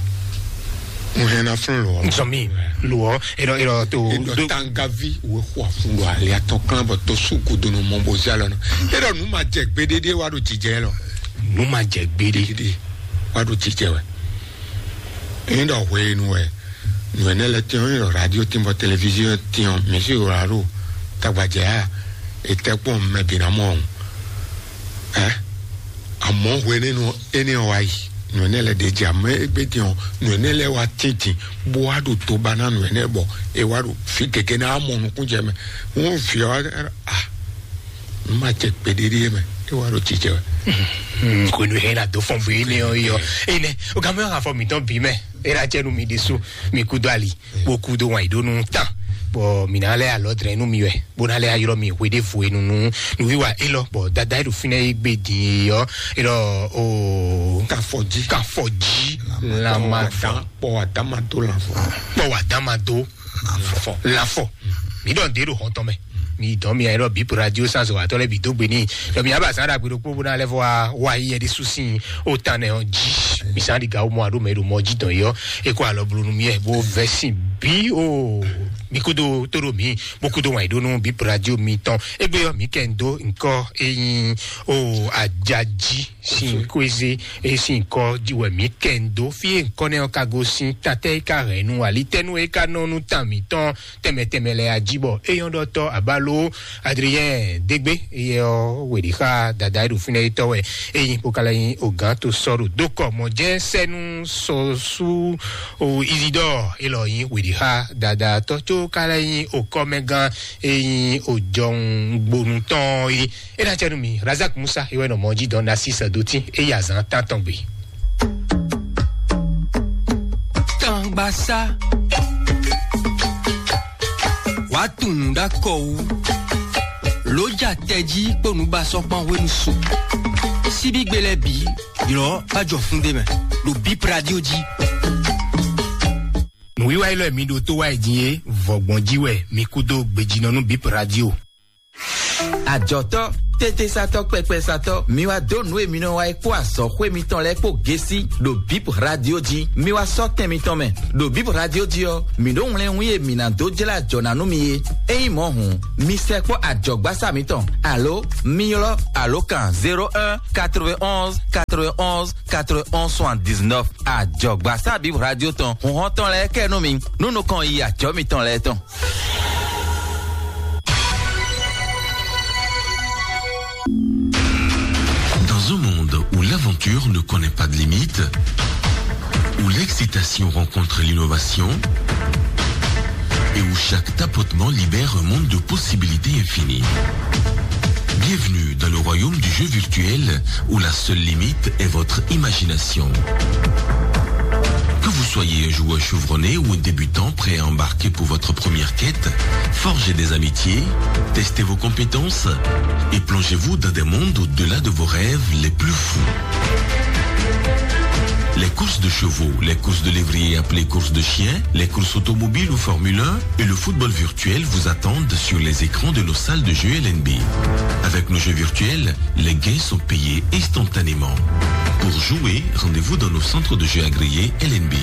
Un hɛn ná flɔ́n lo ɔ́. Nsɔmi lo ɔ e dɔ e dɔ to e dɔ do tangavi wo xɔ afun do ali atɔ kan bɔ to su kudo nɔ mɔ bo zi alɔ nɔ. E dɔ nu ma jɛ gbeɖeɖe wa do jijɛ lɔ. Nu ma jɛ gbeɖe. Gbeɖe wa do jijɛ wɛ. E dɔ hwenu wɛ nu ɛnɛ lɛ tiɔn e dɔ radio tin bɔ televizion tiɔn misi wla do tagbajɛ ya e tɛ kpɔn mɛ bi na mɔ ɔn. Ɛ amɔ hwenɛnu énɛ́ ɔ́ wá yi nǔ énɛ́ lɛ́ɛ ɖe jɛ amɛ égbé din ɔ́, nǔ énɛ́ lɛ́ɛ wá tíntin bó wá ɖo tó ba ná nǔ énɛ́ bɔ é wá ɖo fí gěgé ná mɔ nukún jɛ mɛ. Wọn fi ɔ a n ma jɛ kpeɖeɖe mɛ é wá ɖo jijɛ wɛ. Kò ní hɛn na dó fɔn bó énɛ́ ɔ́ yɔ énɛ́ o gàmú yɔ afɔ mǐtɔn bí mɛ é ɖa jɛ nu mi ɖésú mi kú dó ali. Bó kú dó wan ìdónú tán bɔ mǐ ná lɛ́ alɔ dlɛ́n nú mi wɛ bó ná lɛ́ ylɔ́ mi hweɖévo e nunu nǔwiwa élɔ́ bɔ dada e ɖo fínɛ́ é gbe din e ɔ́ é ɖɔ o kafɔji kafɔji lanma kpɔ wa dama dó lanfɔ kpɔ wa dama dó lanfɔ lanfɔ mǐ ɖɔ nǔɖé ɖo hɔn tɔn mɛ. Mi dɔn mi ayɛ ɖɔ bip radio sans wa tɔ lɛ bi dó gbe ni dɔ mi aba san ɖagbe ɖokpó bó ná lɛ fɔ wa wa yi yɛ ɖi susi o tan nɛ ɔ ji mi san ɖi gawo mɔ aɖo mɛ ɖo mɔ ji dɔn yɔ e kó alɔ blu nu mi yɛ bó vɛ sin bi o mi kudo tó ɖo mi bó kudo wa yi ɖo nu bip radio mi tɔn egbe yɔ mi kɛ n do nkɔ eyin o ajaji sin kweze e sin kɔ ji wɛ mi kɛ n do fi e nkɔ nɛ ɔ ka go sin tatɛ e ka hɛn nu alitɛnu e ka nɔ nu tan mitɔn tɛmɛ tɛmɛ lɛ aji bɔ eyɔn ɖɔtɔ abalo adriyɛn degbe eyɛ ɔ wɛɖi xa dada e ɖo fínɛ yi tɔ wɛ eyin kpokala yin ogan to sɔɖo dokɔ mɔ jɛ sɛnu sɔsu o izidɔ elɔ yin wɛɖi xa dada tɔ tso kala yin okɔmɛgan eyin ojɔun gbonu tɔn yi ena cɛ nu mi razak musa ewɛ nɔ mɔ ji dɔn nasi sɛ doti eyi azan tan tɔn gbe. Tangbasa. Wàá tún nǔ ɖá kɔ wú. Lǒ ja tɛjí kpó nǔbasɔ́kpán hwenu su. Síbígbe lɛ́ɛ bǐ, ylɔ̌ bá jɔ fún ɖé mɛ, ɖo Bip Radio jí. Wíwá élɔ́ e mi ɖo tó wá yi din é, vɔ̌gbɔn jí wɛ mi kú dó gbejínɔ nú Bip Radio. Àjɔtɔ́, tétésatɔ́, kpɛkpɛsatɔ́, mi wá dó nǔ e mi nɔ wa é kpó azɔ̌xwé mitɔn lɛ́ɛ kpó gésí ɖo Bip Radio jí. Mi wá sɔ́ tɛn mitɔn mɛ. Ɖo Bip Radio jí ɔ́, mǐ ɖó wlɛ́nwún e mǐ ná dó jlá ajɔ̌ ná nú mi é. Ényí mɔ̌ hǔn, mi sɛkpɔ́ ajɔ̌gbásá mitɔn, alo mi ylɔ́ alǒkan zéro un quatre-vingt-onze quatre-vingt-onze quatre-vingt-onze soixante-dix-neuf. Ajɔ̌gbásá Bip Radio tɔn, hǔnhɔ́n tɔn lɛ́ɛ kɛ nú mi, nú nukɔn yi ajɔ̌ mitɔn lɛ́ɛ tɔn. Dans un monde où l'aventure ne connaît pas de limite, où l'excitation rencontre l'innovation et où chaque tapotement libère un monde de possibilités infinies. Bienvenue dans le royaume du jeu virtuel où la seule limite est votre imagination. Que vous soyez un joueur chevronné ou un débutant prêt à embarquer pour votre première quête, forgez des amitiés, testez vos compétences et plongez-vous dans des mondes au-delà de vos rêves les plus fous. Les courses de chevaux, les courses de lévrier appelées courses de chiens, les courses automobiles ou Formule un et le football virtuel vous attendent sur les écrans de nos salles de jeu L N B. Avec nos jeux virtuels, les gains sont payés instantanément. Pour jouer, rendez-vous dans nos centres de jeu agréés L N B.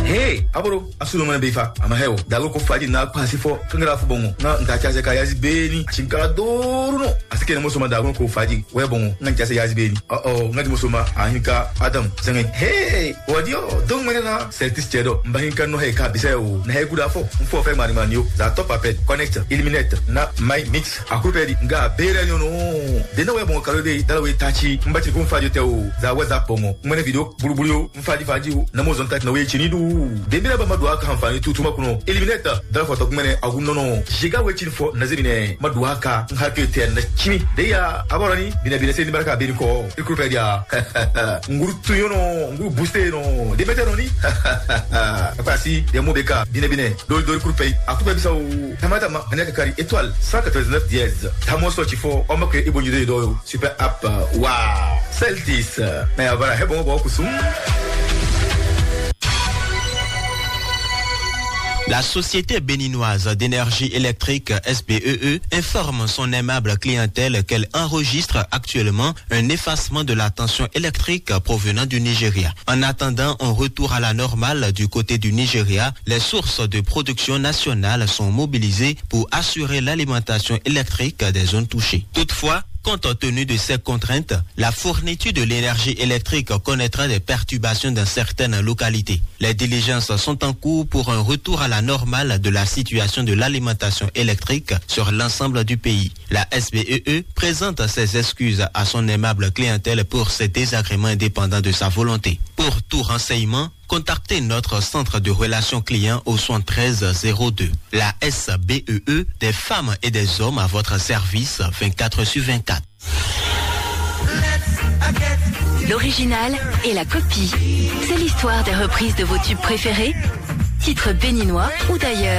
Hey, aboro, asu no mene befa, ama heo. Dago ko faji na kwa si fo, kangara fu bongo. Na nka cha se ka yazi beni, achinkara doru no. Asike ne mo soma dago ko faji, we bongo. Nka cha se yazi beni. Oh oh, nka mo soma, ahinka Adam. Senge, hey, wadio, dong mene na, seltis chedo. Mbahinka no he ka biseo. Na he guda fo. Mfo fe mari manio. Za top apet, connect, eliminate. Na my mix. Akupeli nga bere nyono. Dena we bon kalo de dala we tachi. Mbati kun fajo te o. Za WhatsApp mo. Mene video bulubulu yo. Mfadi fadi o. Na mo zon tat na we chini du. Dembele ba madua ka hanfani tutu makuno. Eliminate. Dala foto mene agun nono. Jiga we chini fo na zebine. Madua ka. Ngatu ete na chimi. Deya aborani. Bine bine se ni baraka bini ko. Ikupeli ya. Nguru tuyono. Nguru booster no. Debete no ni. Apasi. Demo beka. Bine bine. Dori dori kurupɛ, a kúpɛ bisa o. Tamata ma, ani aka kari étoile cent quatre-vingt-dix-neuf dièse. Tamo sɔ tsi fɔ, ɔmɔ kɛ ibo nyi do do. Super app, wow. Celtis, mais voilà, hé bon bon kusum. La Société béninoise d'énergie électrique, S B E E, informe son aimable clientèle qu'elle enregistre actuellement un effacement de la tension électrique provenant du Nigeria. En attendant un retour à la normale du côté du Nigeria, les sources de production nationale sont mobilisées pour assurer l'alimentation électrique des zones touchées. Toutefois, compte tenu de ces contraintes, la fourniture de l'énergie électrique connaîtra des perturbations dans certaines localités. Les diligences sont en cours pour un retour à la normale de la situation de l'alimentation électrique sur l'ensemble du pays. La S B E E présente ses excuses à son aimable clientèle pour ces désagréments indépendants de sa volonté. Pour tout renseignement, contactez notre centre de relations clients au soixante-treize zéro deux. La S B E E, des femmes et des hommes à votre service vingt-quatre sur vingt-quatre. L'original et la copie. C'est l'histoire des reprises de vos tubes préférés, titres béninois ou d'ailleurs.